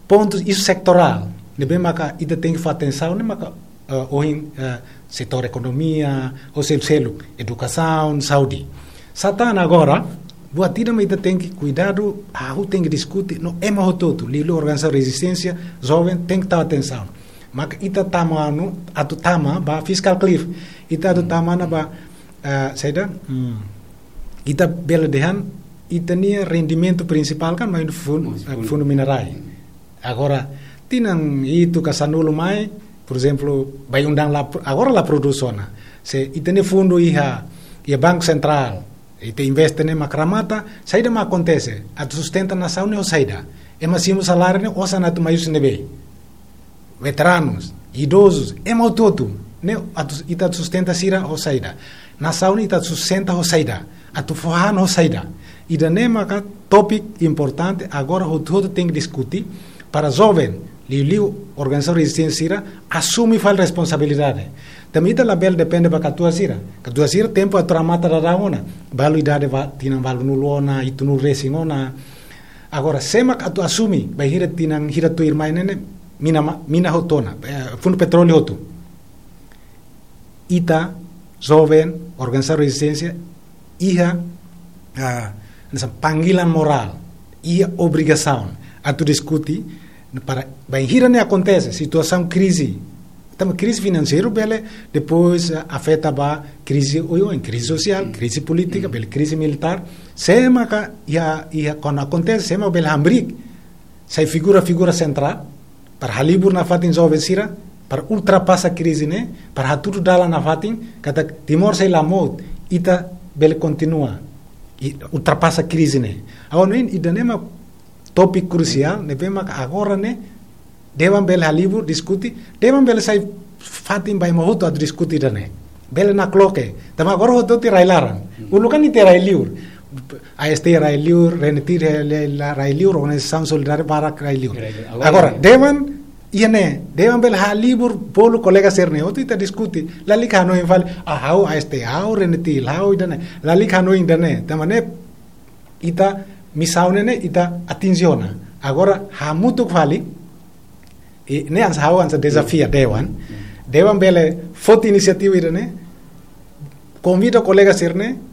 Pontus isu setorál ne'ebé maka ita tenke fó atensaun, ne'e maka, eh, ohin, eh, setór ekonomia, ou selu-seluk, edukasaun, saúde. Satán agora, buat ida mak ita tenke kuidadu, hahú tenke diskute, no ema hotu-hotu, liuliu organizasaun rezisténsia, joven, tenke tau atensaun. Maka ita tama anu, atu tama, ba fiscal cliff, ita atu tama ona ba, eh, saida, hmm, ita bele dehan, ita-nia rendimentu prinsipál kan, mai fun-, Mas eh, fun-, fundu minerai. Agora, tinan hitu ka sanulu mai, por ezemplu, Bayu-Undan la pro-, agora la produz ona. Se ita-nia fundu iha, iha Banku Sentrál, ita investe ne'e mak remata, saida mak akontese, atu sustenta nasaun ne'e ho saida. Ema simu saláriu ne'e, osan atu mai husi ne'ebé. Veteranus, idozus, ema hotu-hotu, ne'e atu, ita atu sustenta sira ho saida. Nasaun ne'e ita atu sustenta ho saida. Atu fó han ho saida. Ida-ne'e maka tópiku importante, agora hotu-hotu tenke diskute, para joven, liuliu organizasaun rezisténsia sira, asume fali responsabilidade. Tanba ita labele depende ba katuas sira. Katuas sira tempu atu remata daudaun ona. Balu idade ba tinan balunulu ona, hitunulu resin ona. Agora, sé mak atu asume, bainhira tinan hira tuirmai ne'e ne'e, mina ma-, mina hotu ona, eh, fundu petróleu hotu. Ita, joven, organizasaun rezisténsia, iha, ah, hanesan panggilan morál, iha obrigasaun atu diskute, para bainhira ne'e akontese situasaun krize. Tanba krize finanseiru bele depois, ah, afeta ba krize oioin, krize sosiál, krize polítika, bele krize militár. Sé maka iha, iha kuandu akontese, sé maka bele hamriik sai figura-figura sentrál, para halibur nafatin joven sira, para ultrapasa krize ne'e, para hatudu dalan nafatin, katak Timor sei la mout, ita bele kontinua, i ultrapasa krize ne'e. Agora, ne'e, ida-ne'e mak tópiku krusiál, ne'ebé mak agora ne'e, dewan bele halibur, diskute, dewan bele sai fatin ba ema hotu atu diskute ida-ne'e. Bele nakloke. Tanba agora hotu-hotu iha rai-laran. Uluk kan ita iha rai-liur. A S T rai-liur, RENETIL rai-, rai-, rai-liur, organizasaun solidária barak rai-liur. Rai-liur. Agora, agora, dewan, iha ne'e, dewan bele halibur, bolu kolega sira-ne'e hotu ita diskute. Lalika hanoin fali, ah, ha'u A S T, ha'u RENETIL, ha'u ida-ne'e. Lalika hanoin ida-ne'e. Tanba ne'e, ita misaun ne'e, ita atinje ona. Agora, hamutuk fali, i ne'e hanesan ha'u hanesan dezafia dewan. Dewan bele foti inisiativa ida-ne'e, konvida kolega sira-ne'e,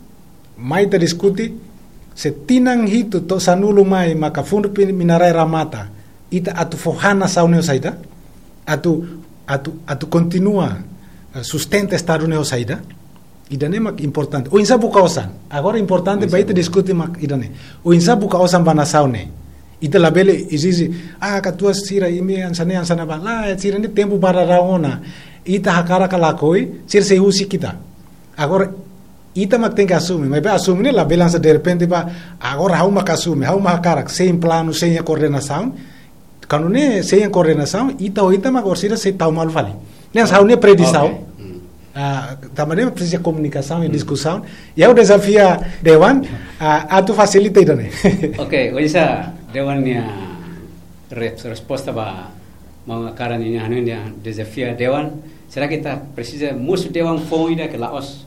mai ita diskute, se tinan hitu to'o sanulu mai maka fundu pin-, minerai remata, ita atu fó han nasaun ne'e ho saida, atu, atu, atu kontinua, eh, sustenta Estadu ne'e ho saida, ida-ne'e mak importante. Oinsá buka osan. Agora importante ba ita diskute mak ida-ne'e. Oinsá buka osan ba nasaun ne'e. Ita labele ezije, ah, katuas sira imi hanesan ne'e hanesan ne'ebá. Lae, sira-ne'e tempu barak daudaun ona. Ita hakarak ka lakohi, sira sei husik ita. Agora, ita mak tenke asume. Maibé asume ne'e labele hanesan derrepente ba, agora ha'u mak asume, ha'u mak hakarak, sein planu, sein koordenasaun. Kuandu ne'e sein koordenasaun, ita ho ita mak orsida sei tau malu fali. Ne'e hanesan ha'u-nia predisaun. Oke. Hmm. Ah, tanba ne'e presiza komunikasaun i diskusaun. I ha'u dezafia dewan, ah, atu fasilita ida-ne'e. Oke, oinsá dewan nia res-, resposta ba maun Akara nia hanoin, nia dezafia dewan. Será ke ita presiza mosu dewan foun ida ke la'ós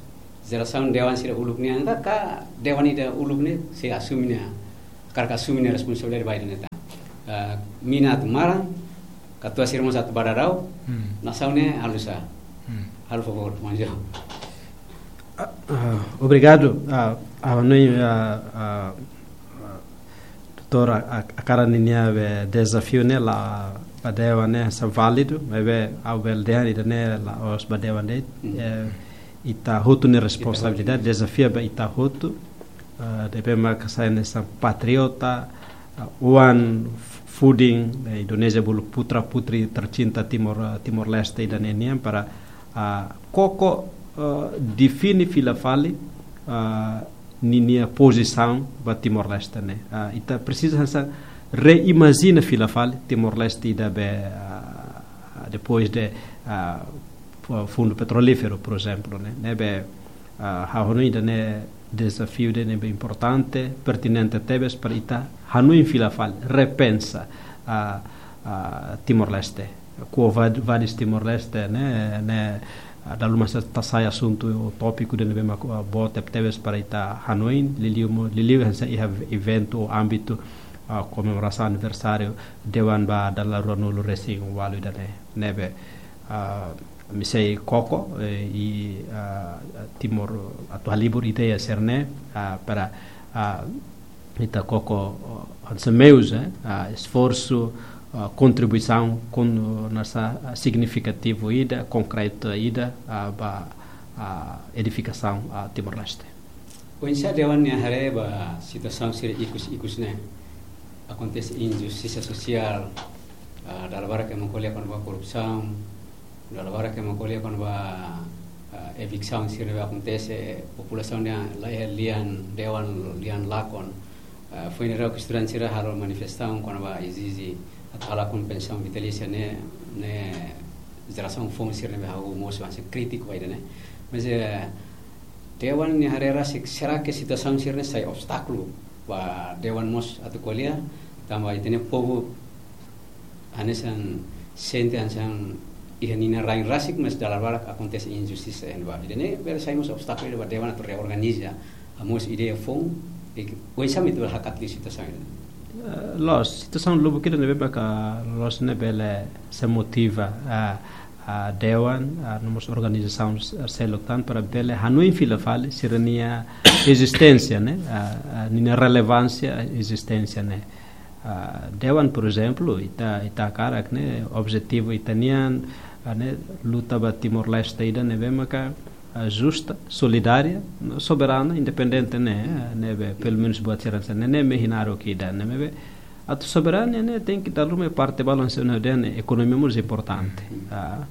jerasaun dewan sira uluk nian ka, ka dewan ida uluk ne'e sei asume nia, hakarak asume nia responsabilidade ba ida-ne'e tan. Ah, mina atu maran, katuas sira mós atu ba daudaun, Hmm. nasaun ne'e halo sá. Hmm. Halo favór, manjo. Ah, ah, obrigadu. Ah, ah, no, ah, ah, ah, doutór, ah, ah, hakarak ninia be dezafiu ne'e la ba dewan ne'e hanesan válidu, maibé ha'u bele dehan ida-ne'e la'ós ba dewan de'it, Hmm. eh, ita hotu nia Ita hotu. responsabilidade, dezafiu ba ita hotu, ah, ne'ebé maka sai hanesan patriota, ah, oan fudin, eh, Indonézia bolu putra-putri tercinta Timor, ah, Timor-Leste ida-ne'e nian para, ah, koko, ah, define fila fali, ah, ninia pozisaun ba Timor-Leste ne'e. Ah, ita presiza hanesan reimajina fila fali Timor-Leste ida be, ah, depois de, ah, fu-, fundu petrolíferu, por ezemplu, ne'e. Ne'ebé, ah, ha'u hanoin ida-ne'e dezafiu ida ne'ebé importante, pertinente tebes para ita hanoin fila fali, repensa, ah, ah, Timor-Leste. Quo va-, vadis Timor-Leste, ne'e, ne'e, ah, dala ruma sei ita sai asuntu, tópiku ida ne'ebé mak, ah, boot tebetebes para ita hanoin, liuliu mo-, liuliu hanesan iha eventu ou ámbitu, ah, komemorasaun aniversáriu dewan ba dala ruanulu resin ualu ida-ne'e, ne'ebé, ah, ami sei koko, eh, i, ah, Timor atu halibur ideia sira-ne'e, ah, para, ah, ita koko, ah, hanesan meius, eh, ah, esforsu, ah, kontribuisaun kon-, hanesan, ah, signifikativu ida, konkretu ida, ah, ba, ah, edifikasaun, ah, Timor-Leste. Oinsá dewan nia haree ba situasaun sira ikus-ikus ne'e, akontese injustisa sosiál, ah, dala barak ema ko'alia kona-ba korrupsaun, dala barak ema ko'alia kona-ba, ah, eviksaun sira ne'ebé akontese, populasaun nia laiha lian dewan, lian lakon. Ah, foin ne'e estudante sira halo manifestasaun kona-ba ezije atu halakon pensaun vitalísia ne'e, ne'e jerasaun foun sira ne'ebé ha'u mosu hanesan krítiku ba ida-ne'e. Mas, eh, dewan nia haree rasik, será ke situasaun sira-ne'e sai obstákulu ba dewan mós atu ko'alia, tanba ita-nia povu hanesan sente hanesan iha ninia rain rasik, mas dala barak akontese injustisa iha ne'ebá. Ida-ne'e bele sai mós obstákulu ba dewan atu reorganiza, ah, mós ideia foun, i oinsá mak ita bele hakat liu situasaun ida-ne'e. Eh, loos, situasaun lubuk ida ne'ebé maka loos ne'e bele sei motiva, ah, ah, dewan, ah, no mós organizasaun s-, seluk tan para bele hanoin fila fali sira-nia ezisténsia ne'e, ah, ah, ninia relevánsia ezisténsia ne'e. Ah, dewan, por ezemplu, ita, ita hakarak ne'e, objetivu ita-nian, ah, ne'e luta ba Timor-Leste ida ne'ebé maka, ah, justa, solidária, soberana, independente ne'e, ah, ne'ebé, pelumenus buat sira hanesan ne'e, ne'e mak ita hakarak ida, ne'ebé, atu soberania ne'e tenke dala ruma parte balu hanesan ne'e, ekonomia mós importante. Ah,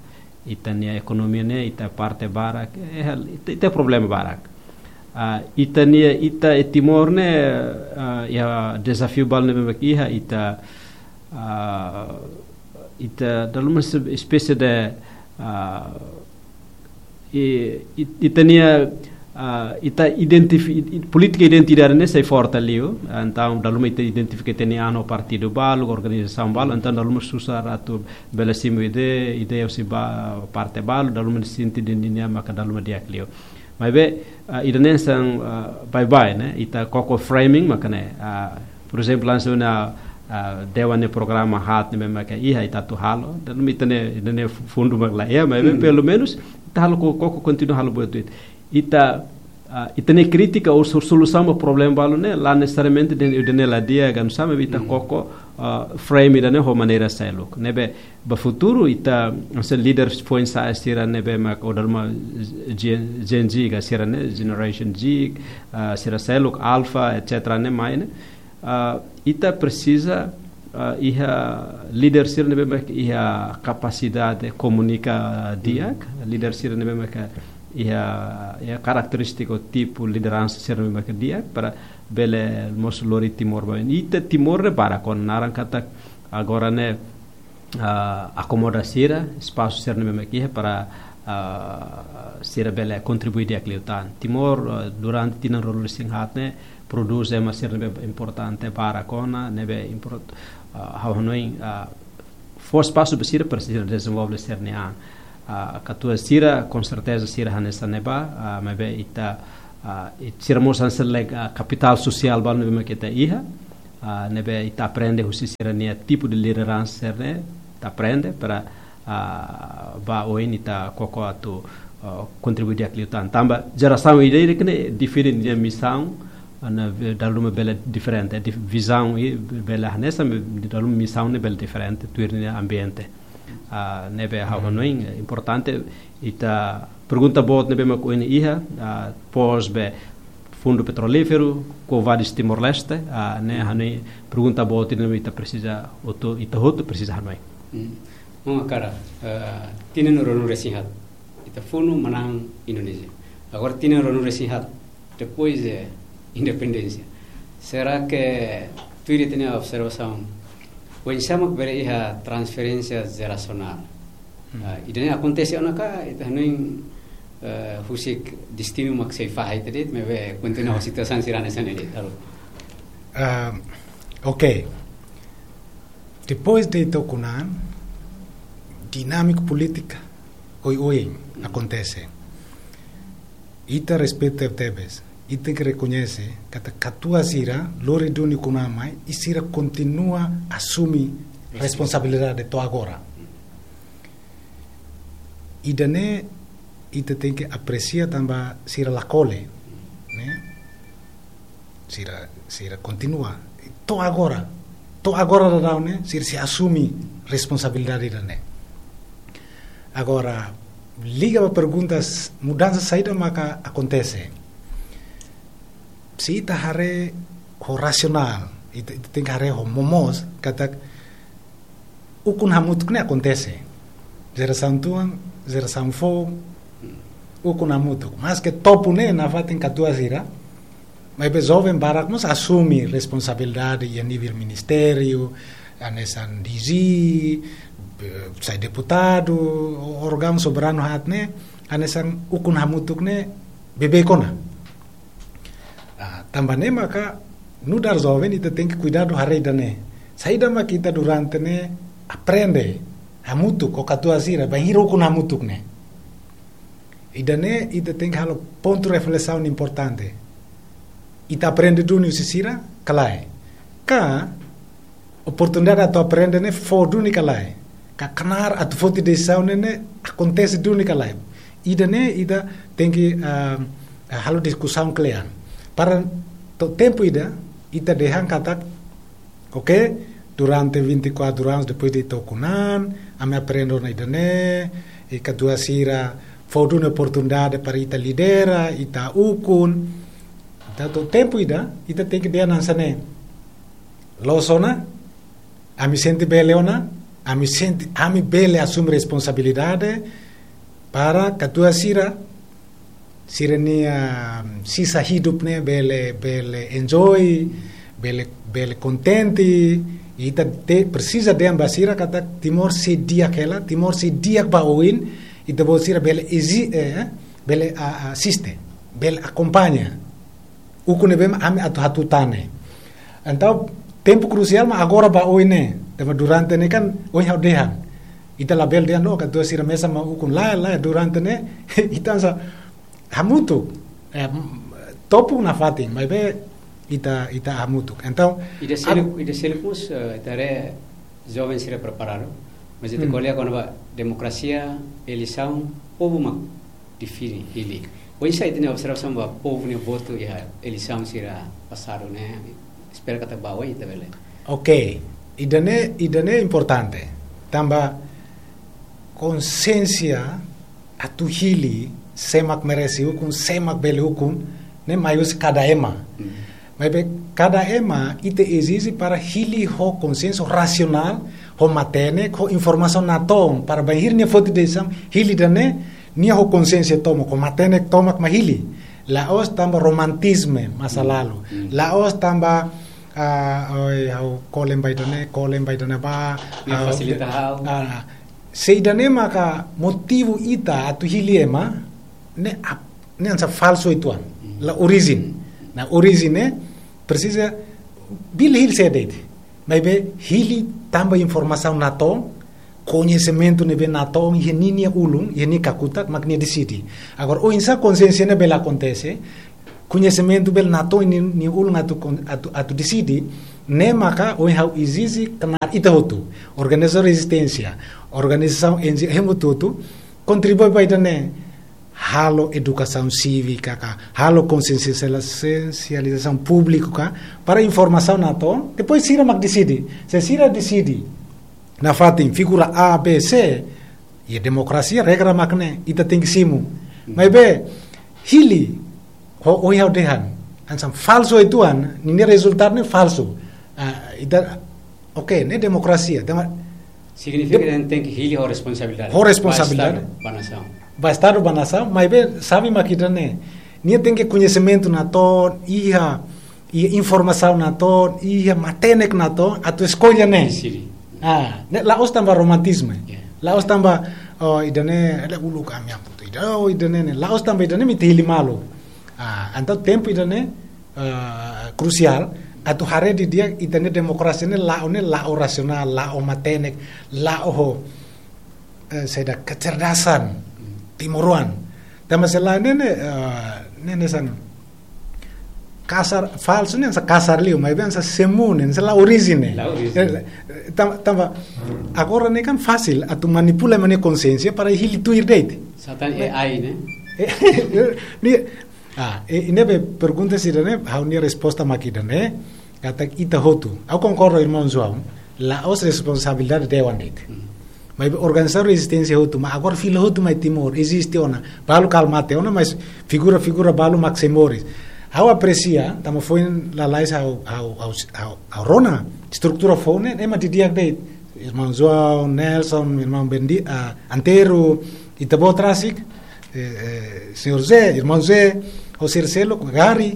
ita-nia ekonomia ne'e, ita parte barak, eh, ita, ita problema barak. Ah, ita-nia, ita iha Timor ne'e, ah, iha dezafiu balu ne'ebé mak iha, ita, ah, ita dala ruma se-, espésie de, ah, i, i, ita-nia, ah, ita identifi-, i, i, polítika identitária ne'e sai forte liu, entaun dala ruma ita identifika ita-nia an ho partidu balu, organizasaun balu, entaun dala ruma susar atu bele simu ideia, ideia husi ba parte balu, dala ruma sente dehan ninia maka dala ruma di'ak liu. Maibé, ah, ida-ne'e hanesan, ah, baibain, ne'e, ita koko framing maka ne'e, ah, por ezemplu, hanesan ne'e, ah, dewan nia programa haat ne'ebé maka iha ita atu halo, dala ruma ita-nia, ita-nia fundu mak la iha, maibé Hmm. pelumenus ita halo ko-, koko kontinua halo buat ida. Ita, ah, ita-nia krítika ou so-, solusaun ba problema balu ne'e, la nesesariamente dehan ida-ne'e la di'ak, ka nu'usá, maibé ita Hmm. koko, ah, frame ida-ne'e ho maneira seluk. Ne'ebé, ba futuru ita, hanesan líder foin-sa'e sira ne'ebé mak, ou dala ruma Gen, Gen Z ka sira ne'e, Generation Z, ah, sira seluk, Alpha, et cetera ne'e mai ne'e. Ah, ita presiza, ah, iha líder sira ne'ebé mak iha kapasidade komunika di'ak, Hmm. líder sira ne'ebé mak iha, iha karakterístika tipu lideransa sira ne'ebé mak di'ak, para bele mós lori Timor ba oin. Ita Timor ne'e barak ona, naran katak agora ne'e, ah, akomoda sira, espasu sira ne'ebé mak iha para, ah, sira bele kontribui di'ak liután. Timor, ah, durante tinan ruanulu resin haat ne'e, prodús ema sira ne'ebé importante barak ona, ne'ebé import-, ah, ha'u hanoin, ah, fó espasu ba sira para sira dezenvolve sira-nia an. Ah, katuas sira, com certeza sira hanesan ne'ebá, ah, maibé ita, ah, it-, sira mós hanesan, like, ah, kapitál sosiál balu ne'ebé mak ita iha, ah, ne'ebé ita aprende husi sira-nia tipu de lideransa sira-ne'e, ita aprende para, ah, ba oin ita koko atu, ah, kontribui di'ak liután. Tanba jerasaun ida-idak ne'e diferente, nia misaun, ah, ne'e be-, dala ruma bele diferente, dif-, vizaun i bele hanesan, maibé dala ruma misaun ne'e bele diferente, tuir nia ambiente. Ah, ne'ebé ha'u hanoin, eh, importante, ita pergunta boot ne'ebé mak ohin iha, ah, pós be fundu petrolíferu, Quo Vadis Timor-Leste, ah, ne'e hanoin pergunta boot ne'ebé ita presiza, hotu, ita hotu presiza hanoin. Hmm. Maun Akara, eh, tinan ruanulu-resin-haat, ita funu manán Indonézia. Agora tinan ruanulu-resin-haat, depois de independénsia. Será que, tuir ita-nia observasaun, oinsá mak bele iha transferénsia jerasionál? Hmm. Ah, ida-ne'e akontese ona ka, ita hanoin, eh, husik destinu mak sei fahe ita de'it, maibé kontinua ho situasaun sira hanesan ne'e de'it, halo? Ah, ok. Depois de ita ukun an, dinámika polítika oioin akontese. Ita respeita tebes, ita tenke rekoñese katak katuas sira lori duni ukun an mai, i sira kontinua asume responsabilidade to'o agora. Ida-ne'e ita tenke apresia tanba sira la kole, ne'e? Sira, sira kontinua. To'o agora, to'o agora daudaun ne'e, sira sei asume responsabilidade ida-ne'e. Agora, liga ba perguntas, mudansa saida maka akontese? Se ita haree ho rasionál, ita, ita tenke haree ho momoos, katak ukun hamutuk ne'e akontese. Jerasaun tuan, jerasaun foun, ukun hamutuk. Maske topu ne'e nafatin katuas sira, maibé joven barak mós asume responsabilidade iha nivel ministériu, hanesan D G, eh, sai deputadu, órgaun soberanu haat ne'e, hanesan ukun hamutuk ne'e beibeik ona. Ah, tanba ne'e maka nu'udar joven ita tenke kuidadu haree ida-ne'e. Saida mak ita durante ne'e aprende hamutuk ho katuas sira, bainhira ukun hamutuk ne'e. Ida-ne'e ita tenke halo pontu reflesaun importante. Ita aprende duni husi sira, ka lae? Ka oportunidade atu aprende ne'e fó duni ka lae? Ka knaar atu foti desizaun ne'e, ne'e akontese duni ka lae? Ida-ne'e ita tenke, ah, halo diskusaun kle'an. Para to'o tempu ida, ita dehan katak, ok, durante vinte e quatro anos depois de ita ukun an, ami aprende ona ida-ne'e, i katuas sira fó duni oportunidade para ita lidera, ita ukun. Entaun to'o tempu ida, ita tenke dehan hanesan ne'e. Loos ona, ami sente bele ona, ami sente, ami bele asume responsabilidade para katuas sira, sira-nia, ah, sisa hidup ne'e bele, bele enjoy, bele, bele kontente, i ita te-, presiza dehan ba sira katak Timor sei di'ak hela, Timor sei di'ak ba oin, ita-boot sira bele ezi-, eh, bele a-, asiste, bele akompaña. Ukun ne'ebé ami atu hatutan ne'e. Entaun, tempu krusiál mak agora ba oin ne'e. Tanba durante ne'e kan, ohin ha'u dehan. Ita labele dehan, no, katuas sira mesak mak ukun, lae, lae, durante ne'e, ita hanesan hamutuk. Eh, topu nafatin, maibé ita, ita hamutuk. Entaun, ida seluk, ida seluk mós, eh, ita haree joven sira preparadu. Mas ita, hmm, ko'alia kona-ba demokrasia, eleisaun, povu mak define, hili. Oinsá ita-nia observasaun ba povu nia votu iha eleisaun sira pasadu ne'e, espera katak ba oin ita bele. Ok, ida-ne'e, ida-ne'e importante. Tanba konsiénsia atu hili sé mak merese ukun, sé mak bele ukun, ne'e mai husi kada ema. Hmm. Maibé kada ema ita ezije para hili ho konsiénsia rasionál, ho matenek, ho informasaun natoon, para bainhira nia foti desizaun, hili ida-ne'e, nia ho konsiénsia tomak, ho matenek tomak mak hili. La'ós tanba romantisme masa, hmm, lalu. Hmm. La'ós tanba, ah, oi, ha'u kolen ba ida-ne'e, kolen ba ida-ne'ebá, nia, ah, fasilita ha'u. Ah, se ida-ne'e maka motivu ita atu hili ema, ne'e ap-, ne'e hanesan falsu uitoan. Hmm. La orijen. Na orijen ne'e presiza bele hili sé de'it. Maibé hili tanba informasaun natoon, koñesimentu ne'ebé natoon iha ninia ulun, iha nia kakutak, mak nia deside. Agora, oinsá konsensu ne'e bele akontese, koñesimentu bele natoon iha nia ulun atu kon-, atu, atu deside, ne'e maka ohin ha'u ezije knaar ita hotu, organizasaun rezisténsia, organizasaun N G O, ema hotu-hotu, kontribui ba ida-ne'e, halo edukasaun sívika ka, halo konsiensializasaun públiku ka, para informasaun natoon, depois sira mak deside. Se sira deside nafatin figura A, B, C, iha demokrasia regra mak ne'e, ita tenke simu. Maibé, hili, ho, ohin ha'u dehan, hanesan falsu uitoan, ninia rezultadu ne'e falsu. Ah, ita, oke, ne'e demokrasia, tema- Signifika Dem- ita tenke hili ho responsabilidade. Ho responsabilidade. Ba Estadu, ba nasaun. Ba Estadu, ba nasaun, maibé xave mak ida-ne'e. Nia tenke koñesimentu natoon, iha, iha informasaun natoon, iha matenek natoon, atu eskolla ne'e. Deside. Ah, ne'e la'ós tanba romantizmu. Yeah. La'ós tanba, oh, ida-ne'e, ele uluk ami-nia putu. Ida, oh, ida-ne'e, ne'e. La'ós tanba ida-ne'e, imi ita hili malu. Ah, entaun tempu ida-ne'e, ah, krusiál, atu haree didi'ak ita-nia demokrasia ne'e la'o ne'e, la'o rasionál, la'o matenek, la'o ho, eh, saida, kecerdasan timoroan. Tanba se lae ne'e, ne'e, eh, ne'e, ne'e hanesan kasar, falsu ne'e hanesan kasar liu, maibé hanesan semu ne'e, hanesan la orijin ne'e. La orijin. Eh, tam-, tanba, agora ne'e kan fasil, atu manipula ema nia konsiénsia para hili tuir de'it. Satan A I ne'e. Eh, ne'e, ah, eh, ne'ebé pergunta sira-ne'e, ha'u-nia resposta mak ida-ne'e, katak ita hotu. Ha'u konkorda ho irmaun João, la'ós responsabilidade dewan de'it. Hmm. Maibé organizasaun rezisténsia hotu, mas agora fila hotu mai Timor, eziste ona. Balu kala mate ona, mas figura, figura balu mak sei moris. Ha'u apresia, tanba foin lalais ha'u, ha'u, ha'u, ha'u, ha'u rona, estrutura foun ne'e, ema didi'ak de'it. Irmaun João, Nelson, irmaun Bendi-, ah, Antero, ita-boot rasik, eh, eh, señór Zé, irmaun Zé, ho sira seluk, Gary,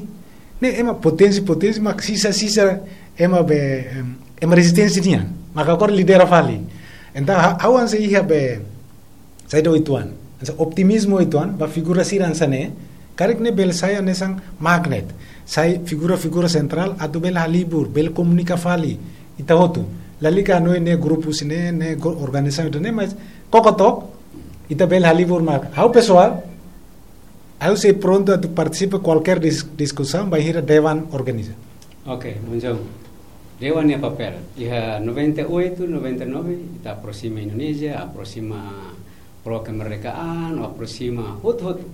ne'e ema potensi, potensi, mak sisa, sisa, ema be, em, ema rezisténsia nian. Maka agora lidera fali. Entaun, ha-, ha'u hanesan iha be, saida uitoan. Hanesan optimizmu uitoan, ba figura sira hanesan ne'e, karik ne'e bele sai hanesan magnet. Sai figura, figura sentrál, atu bele halibur, bele komunika fali. Ita hotu. Lalika hanoin ne'e grupu sira-ne'e, ne'e gru-, organizasaun ida-ne'e, mas koko took, ita bele halibur mak. Ha'u pesoál, ha'u sei prontu atu partisipa kualkér dis-, diskusaun, bainhira dewan organiza. Ok, maun João. Dewan nia papél. Iha noventa e oito, noventa e nove, ita aproxima Indonézia, aproxima pró-kemerdekaan, aproxima hotu-hotu.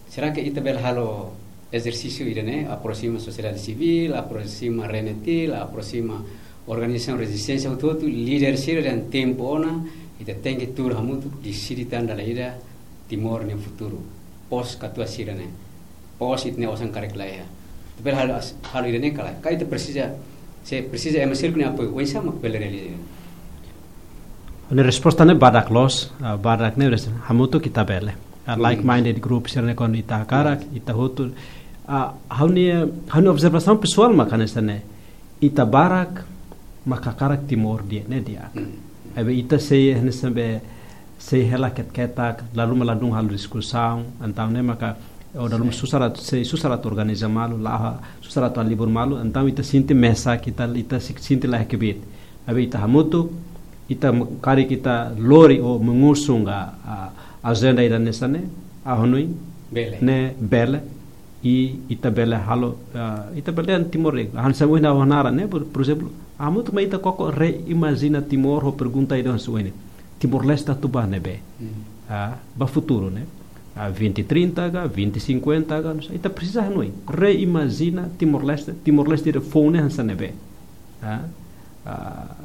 Será que ita bele halo ezersísiu ida-ne'e, aproxima sosiedade sivíl, aproxima RENETIL, aproxima organizasaun rezisténsia hotu-hotu, líder sira dehan tempu ona, ita tenke tuur hamutuk, deside tan dala ida Timor nia futuru. Pós katuas sira-ne'e. Pós ita-nia osan karik laiha. Ita bele halo as-, halo ida-ne'e ka lae. Ka ita presiza, se presiza ema seluk nia apoiu, oinsá mak bele realiza. Ha'u-nia resposta ne'e badak loos, ah, badak ne'e res-, hamutuk ita bele. Ah, hmm, like-minded group sira-ne'e kuandu ita hakarak, hmm, ita hotu. Ah, ha'u-nia, ha'u-nia observasaun pesoál mak hanesan ne'e. Ita barak mak hakarak Timor di'ak, ne'e di'ak. Hmm. Maibé ita sei, hanesan be, sei hela ket-ketak, la ruma ladún halo diskusaun, entaun ne'e maka, o dala ruma, sin, susar atu, sei susar atu organiza malu, la ha, susar atu halibur malu, entaun ita sente mesak, ita, ita si-, sente laiha kbiit. Maibé ita hamutuk, ita me-, karik ita lori ou mengusung a, a, ajenda ida hanesan ne'e, ha'u hanoin, bele. Ne'e bele, i ita bele halo, ah, ita bele dehan Timor ne'e. Hanesan ohin ha'u hanaran ne'e, por, por ezemplu, hamutuk mai ita koko reimajina Timor ho pergunta ida hanesan ohin. Timor-Leste atu ba ne'ebé? Hmm. Ah, ba futuru ne'e. Ah, vinte trinta ka, vinte cinquenta ka, não sei. Ita presiza hanoin. Reimajina Timor-Leste, Timor-Leste ida foun ne'e hanesan ne'ebé? Ah, ah,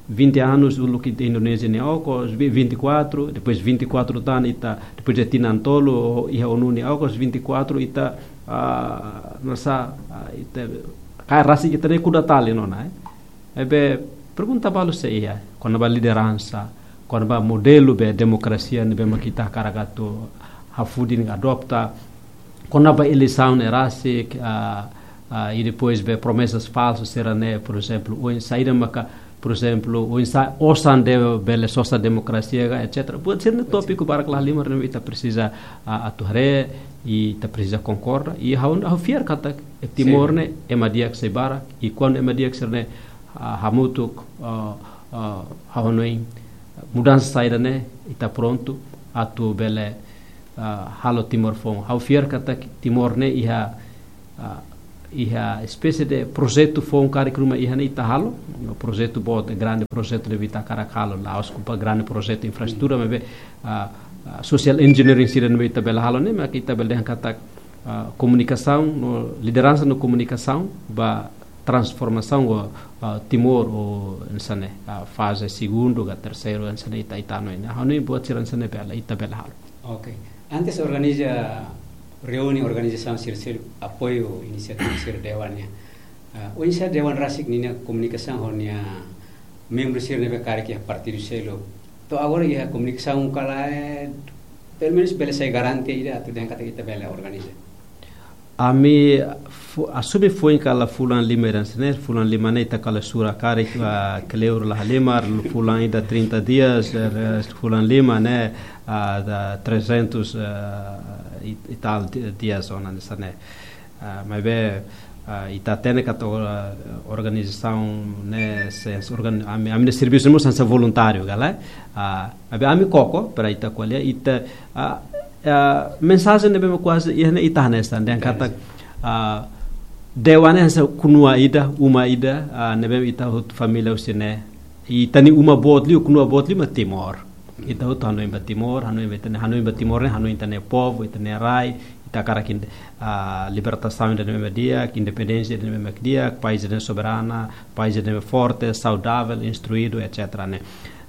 vinte anos uluk ita Indonézia nia okos, vi-, vinte e quatro, depois vinte e quatro tan ita, depois de tinan tolu, iha ONU nia okos, vinte e quatro ita, ah, nasa, ah, ita, kaer rasik ita-nia kuda tali ona, eh. Maibé, pergunta balu sei iha, kona-ba lideransa, kona-ba modelu be demokrasia ne'ebé mak ita hakarak atu hafudin adopta, kona-ba eleisaun ne'e rasik, ah, ah, i depois be promesas falsas sira-ne'e, por ezemplu, oinsá ida maka, por ezemplu, oinsá osan ne'e bele sosa demokrasia ka, et cetera. Buat sira-ne'e tópiku barak lahalimar ne'ebé ita presiza, ah, atu haree, i ita presiza konkorda. I ha'u, ha'u fiar katak, eh, Timor, sin, ne'e ema di'ak sei barak, i kuandu ema di'ak sira-ne'e, ah, hamutuk, ah, ah, ha'u hanoin, mudansa saida ne'e ita prontu atu bele, ah, halo Timor foun. Ha'u fiar katak Timor ne'e iha, ah, iha espésie de projetu foun karik ruma iha ne'e ita halo, projetu boot, grande projetu ne'ebé ita hakarak halo, la'ós kona-ba grande projetu infraestrutura, maibé, ah, ah, social engineering sira ne'ebé ita bele halo ne'e, maka ita bele dehan katak, ah, komunikasaun, no lideransa no komunikasaun ba transformasaun ho, ah, Timor ho, hanesan ne'e, ah, faze segundu ka terseiru, hanesan ne'e ita, ita hanoin. Ha'u hanoin buat sira hanesan ne'e bele, ita bele halo. Oke. Antes organiza reúne organizasaun sira, sira apoiu inisiativa sira dewan nian. Ah, oinsá dewan rasik ninia komunikasaun ho nia membru sira ne'ebé karik iha partidu seluk. To'o agora iha komunikasaun ka lae, pelumenus bele sai garantia ida atu dehan katak ita bele organiza. Ami fu-, asume foin kala fulan lima ida hanesan ne'e, fulan lima ne'e ita kala sura karik, ah, kleur la halimar, fulan ida trinta dias, eh, fulan lima ne'e, ah, da trezentos, ah, e, e tal di-, dias ona hanesan ne'e. Ah, maibé, ah, ita hatene katak, ah, organizasaun ne'e, se, se organ-, ami, ami-nia servisu mós hanesan voluntáriu, ka lae? Ah, maibé ami koko, para ita ko'alia, ita, ah, ah, mensajen ne'ebé mak kuaze iha ne'e ita hanesan, dehan katak, ah, dewan ne'e hanesan kunua ida, uma ida, ah, ne'ebé ita hotu família husi ne'e. Ita-nia uma boot liu, kunua boot liu mak Timor. Ita hotu hanoin ba Timor, hanoin ba ita-nia, hanoin ba Timor ne'e, hanoin ita-nia povu, ita-nia rai, ita hakarak, ah, libertasaun ida ne'ebé mak di'ak, independénsia ida ne'ebé mak di'ak, país ida soberana, país ida forte, saudavel, instruídu, etcétera ne'e.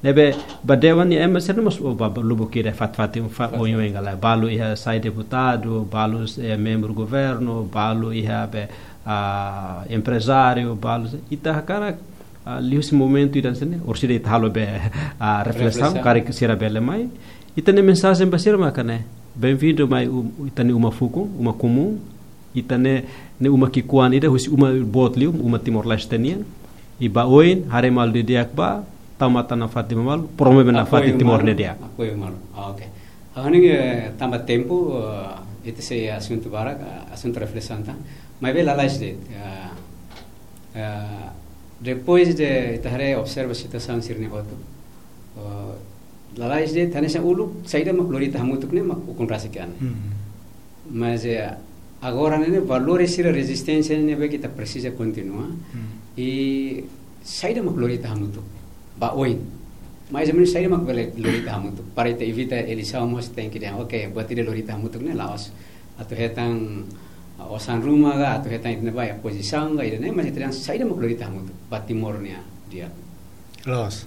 Ne'ebé, ba dewan nia ema sira mós, oh, ba, ba lubuk ida fatin-fatin, fa-, oioin ka lae, balu iha sai deputadu, balu, eh, membru governu, balu iha be, ah, emprezáriu, balu, ita hakarak, ah, liuhusi momentu ida hanesan ne'e, orsida ita halo be, ah, reflesaun, reflesaun, karik sira bele mai. Ita-nia mensajen ba sira maka ne'e, bem-vindo mai um, ita-nia uma fukun, uma komún, ita ne'e, ne'e uma ki'ikoan ida, husi uma boot liu, uma Timor-Leste nian. I ba oin, haree malu didi'ak ba, tau matan nafatin malu, promove nafatin Timor ne'e di'ak. Apoiu malu. Ah, oke. Ah, ne'e, eh, tanba tempu, eh, ita sei asuntu barak, ah, asuntu reflesaun tan. Maibé lalais de'it, ah, ah, depois de ita haree observa situasaun sira-ne'e hotu, ah, lalais de'it, hanesan uluk, saida mak lori ita hamutuk ne'e mak ukun rasik an. Hmm. Mas, eh, agora ne'e, ne'e valór sira rezisténsia ne'ebé ke ita presiza kontinua. Hmm. I saida mak lori ita hamutuk ba oin. Mais ou menus saida mak bele lori ita hamutuk. Para ita evita eleisaun mós tenke dehan, oke, buat ida lori ita hamutuk ne'e la'ós atu hetan, ah, osan ruma ka, atu hetan ita-nia ba iha pozisaun ka, ida-ne'e, mas ita dehan saida mak lori ita hamutuk ba Timor nia di'ak. Loos.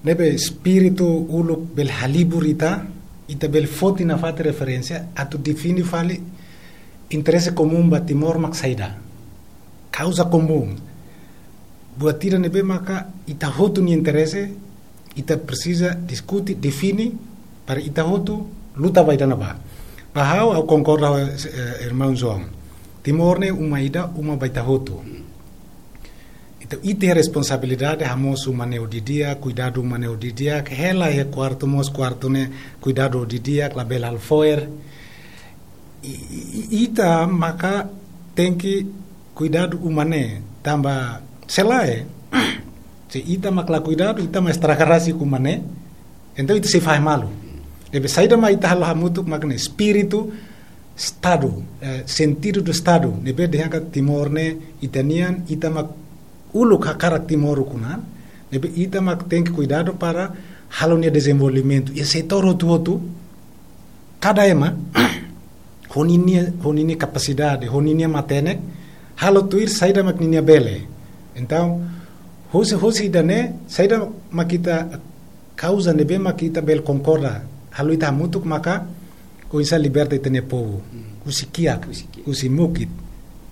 Ne'ebé espíritu uluk bele halibur ita, ita bele foti nafatin referénsia, atu define fali interese komún ba Timor mak saida. Kauza komún. Buat ida ne'ebé maka ita hotu nia interese, ita presiza diskute, define, para ita hotu luta ba ida-ne'ebá. Ba ha'u, ha'u konkorda ho, eh, irmaun João. Timor ne'e uma ida, uma ba ita hotu. Entaun, ita iha responsabilidade, hamosu uma ne'e ho didi'ak, kuidadu uma ne'e ho didi'ak, hela iha kuartu mós, kuartu ne'e kuidadu ho didi'ak, labele halo fo'er. I, i, i, ita maka tenke kuidadu uma ne'e, tanba se lae, se ita mak la kuidadu, ita mak estraga rasik uma ne'e, entaun ita sei fahe malu. Ne'ebé saida mak ita halo hamutuk mak ne'e espíritu Estadu, eh, sentidu do Estadu, ne'ebé dehan katak Timor ne'e ita-nian, ita mak uluk hakarak Timor ukun an, ne'ebé ita mak tenke kuidadu para halo nia dezenvolvimentu iha setór hotu-hotu, kada ema ho ninia, ho ninia kapasidade, ho ninia matenek, halo tuir saida mak ninia bele. Entaun, husi, husi ida-ne'e, saida mak ita kauza ne'ebé mak ita bele konkorda, halo ita hamutuk maka oinsá liberta ita-nia povu. Hmm. Husi kiak, husi kiak, husi mukit.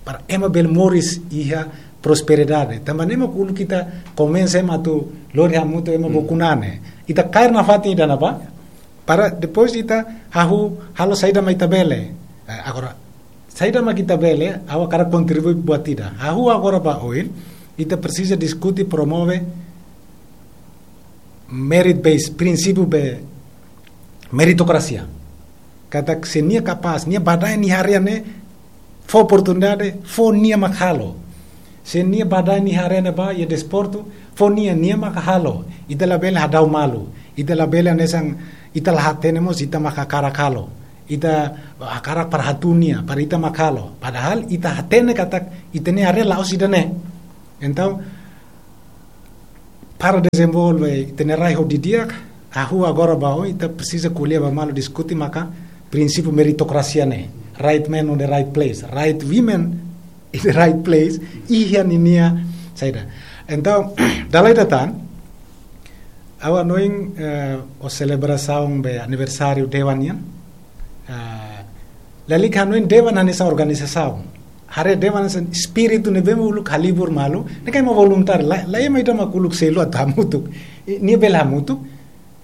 Para ema bele moris iha prosperidade. Tanba ne'e mak uluk ita konvense ema atu lori hamutuk ema, hmm, ba ukun an ne'e. Ita kaer nafatin ida-ne'ebá. Para depois ita hahú halo saida mak ita bele. Eh, agora, saida mak ita bele, ha'u hakarak kontribui buat ida. Hahú agora ba oin, ita presiza diskute, promove merit base, prinsípiu be meritokrasia. Katak se nia kapás, nia badaen iha área ne'e, fó oportunidade, fó nia mak halo. Se nia badaen iha área ne'ebá, iha desportu, fó nia, nia maka halo. Ita labele hadau malu. Ita labele hanesan, ita la hatene mós, ita maka hakarak halo. Ita hakarak para hatun nia, para ita maka halo. Padahal ita hatene katak ita-nia área la'ós ida-ne'e. Entaun, para dezenvolve ita-nia rai ho didi'ak, ha'u agora ba oin, ita presiza ko'alia ba malu diskute maka prinsípiu meritokrasia ne'e. Right man on the right place, right women in the right place, iha ninia saida. Entaun, dala ida tan, ha'u hanoin, eh, ó selebrasaun ba aniversáriu Dewan nian, ah, lalika hanoin Dewan hanesan organizasaun. Haree Dewan hanesan espíritu ne'ebé mak uluk halibur malu, ne'e katak ema voluntáriu, la, la ema ida mak uluk selu atu hamutuk. I, nia bele hamutuk,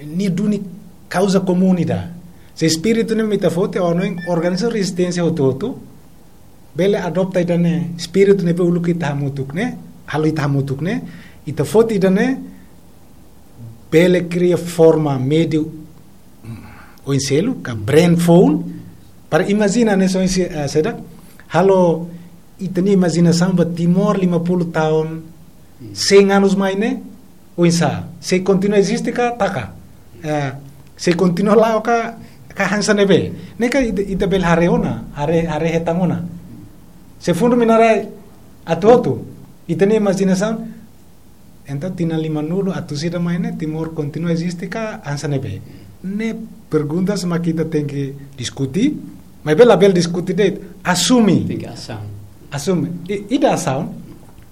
nia duni kauza komún ida. Se espíritu ne'e mak ita foti, ha'u hanoin organizasaun rezisténsia hotu-hotu bele adopta ida-ne'e, espíritu ne'ebé uluk ita hamutuk ne'e, halo ita hamutuk ne'e, ita foti ida-ne'e, bele kria forma meiu, mm, oin seluk, ka brain foun, para imajina ne'e só se, eh, saida, halo ita-nia imajinasaun ba Timor lima puluh tahun, cem anos mai ne'e, oinsá, sei kontinua eziste ka taka? Eh, sei kontinua la'o ka, ka hanesan ne'ebé? Ne'e katak ita, ita bele haree ona, haree, haree hetan ona. Se fundu mina-rai atu hotu, ita-nia imajinasaun, entaun tinan limanulu atus ida mai ne'e, Timor kontinua eziste ka hanesan ne'ebé? Ne'e perguntas mak ita tenke diskute, maibé labele diskute de'it, asume. Tenke asaun. Asume. I, ida asaun.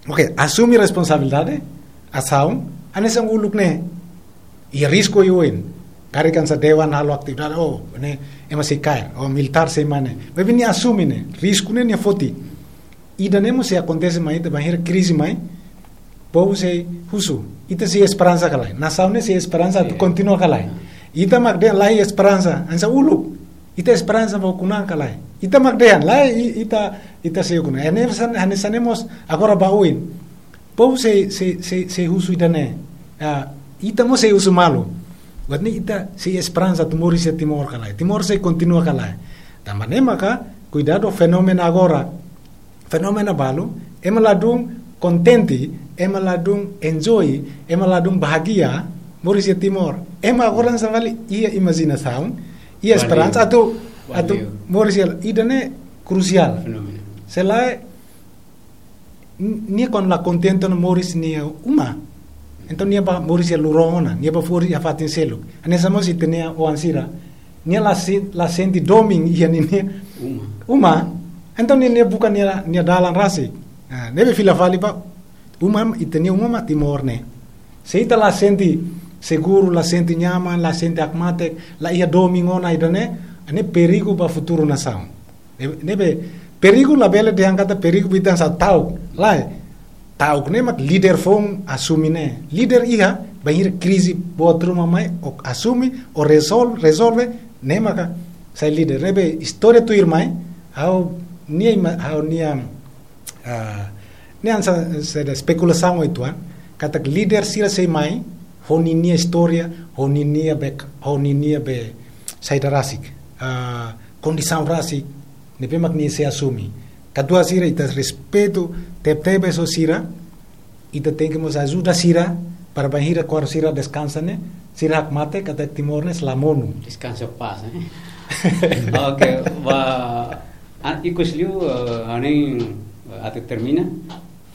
Oke, asume responsabilidade, asaun, hanesan uluk ne'e. Iha risku iha oin. Karik hanesan Dewan halo atividade, oh, ne'e, ema sei kaer, oh, militár sei mai ne'e. Maibé nia asume ne'e, risku ne'e nia foti. Ida-ne'e mós sei akontese mai, ita bainhira krize mai, povu sei husu. Ita sei esperansa ka lae? Nasaun ne'e sei esperansa atu, iya, kontinua ka lae? Ita mak dehan la iha esperansa, hanesan uluk. Ita esperansa ba ukun-an ka lae? Ita mak dehan, lae, i-, ita, ita sei ukun-an. Hanesan, hanesan ne'e mós agora ba oin. Povu sei, sei, sei, sei husu ida-ne'e. Ah, ita mós sei husu malu. Buat ne'e ita sei esperansa atu moris iha Timor ka lae? Timor sei kontinua ka lae? Tanba ne'e maka, kuidadu fenómenu agora. Fenómenu balu, ema ladún kontente, ema ladún enjoy, ema ladún bahagia, moris iha Timor. Ema agora hanesan fali iha imajinasaun, iha, valiu, esperansa atu, atu, valiu, moris iha, ida-ne'e krusiál. Fenómenu. Se lae, n-, nia kuandu la kontente ona moris nia uma. Entaun nia bá moris iha lurón ona, nia bá moris iha fatin seluk. Hanesan mós ita-nia oan sira. Nia la se-, la sente domin iha ninia uma. Uma. Entaun nia, nia buka nia, nia dalan rasik. Ah, ne'ebé fila fali ba uma, ita-nia uma mak Timor ne'e. Se ita la sente seguru, la sente nyaman, la sente hakmatek, la iha domin ona ida-ne'e, ne'e perigu ba futuru nasaun. Ne'e, ne'ebé perigu labele dehan katak perigu ba ita hanesan ta'uk. Lae, ta'uk ne'e mak líder foun asume ne'e. Líder iha, bainhira krize boot ruma mai, ó asume, ó rezol-, rezolve, ne'e maka sai líder. Ne'ebé istória tuirmai, ha'u-nia ima-, ha'u-nia, ah, ne'e hanesan saida, espekulasaun uitoan, katak líder sira sei mai, ho ninia istória, ho ninia be, ho ninia be saida rasik, ah, kondisaun rasik, ne'ebé mak nia sei asume. Katuas sira, ita respeitu tebetebes ho sira, ita tenke mós ajuda sira, para bainhira kuandu sira deskansa ne'e, sira hakmatek katak Timor ne'e sei la monu. Descansa em paz, eh? Ok, ba, ah, ikus liu, eh, ha'u hanoin, eh, atu termina,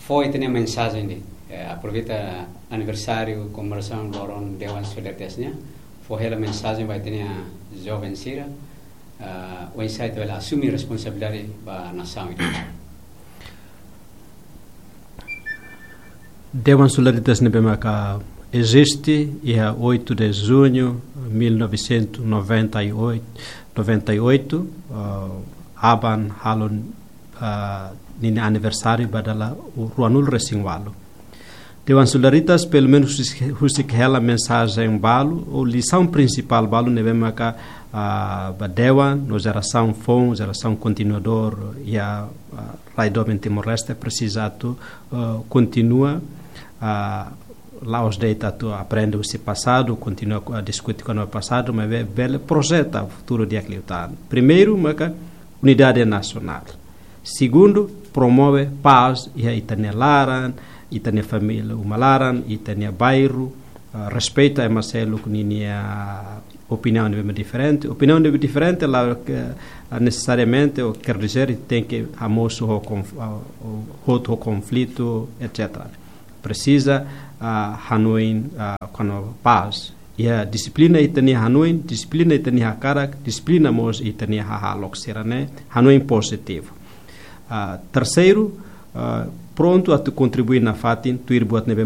fó ita-nia mensajen de'it, eh, aproveita aniversáriu komemorasaun loron Dewan Solidaritas nian, fó hela mensajen ba ita-nia joven sira, ah, oinsá ita bele asume responsabilidade ba nasaun ida. Dewan Solidaritas ne'ebé maka eziste iha oito de junho mil novecentos e noventa e oito, noventa e oito, ah, aban halo, ah, ninia aniversáriu ba dala ruanulu-resin-ualu. Dewan Solidaritas, pelumenus husik, husik hela mensajen balu, ou lisaun prinsipál balu ne'ebé maka, ah, ba Dewan, no jerasaun foun, jerasaun kontinuadór, iha, ah, rai doben Timor-Leste presiza atu, ah, kontinua, ah, la'ós de'it atu aprende husi pasadu, kontinua, ah, diskute kona-ba pasadu, maibé bele projeta futuru di'ak liután. Primeiru, maka unidade nasionál. Segundu, promove pás iha ita-nia laran, ita-nia família uma laran, ita-nia bairru, ah, respeitu ema seluk ninia opiniaun ne'ebé diferente. Opiniaun ne'ebé diferente la, eh, nesesariamente ou quer dizer tenke hamosu ho konf-, ah, ou hotu ho konflitu, et cetera. Presiza, ah, hanoin, ah, kona-ba pás. Iha dixiplina ita-nia hanoin, dixiplina ita-nia hakarak, dixiplina mós ita-nia hahalok sira-ne'e, hanoin pozitivu. Ah, terseiru, ah, prontu atu kontribui nafatin, tuir buat ne'ebé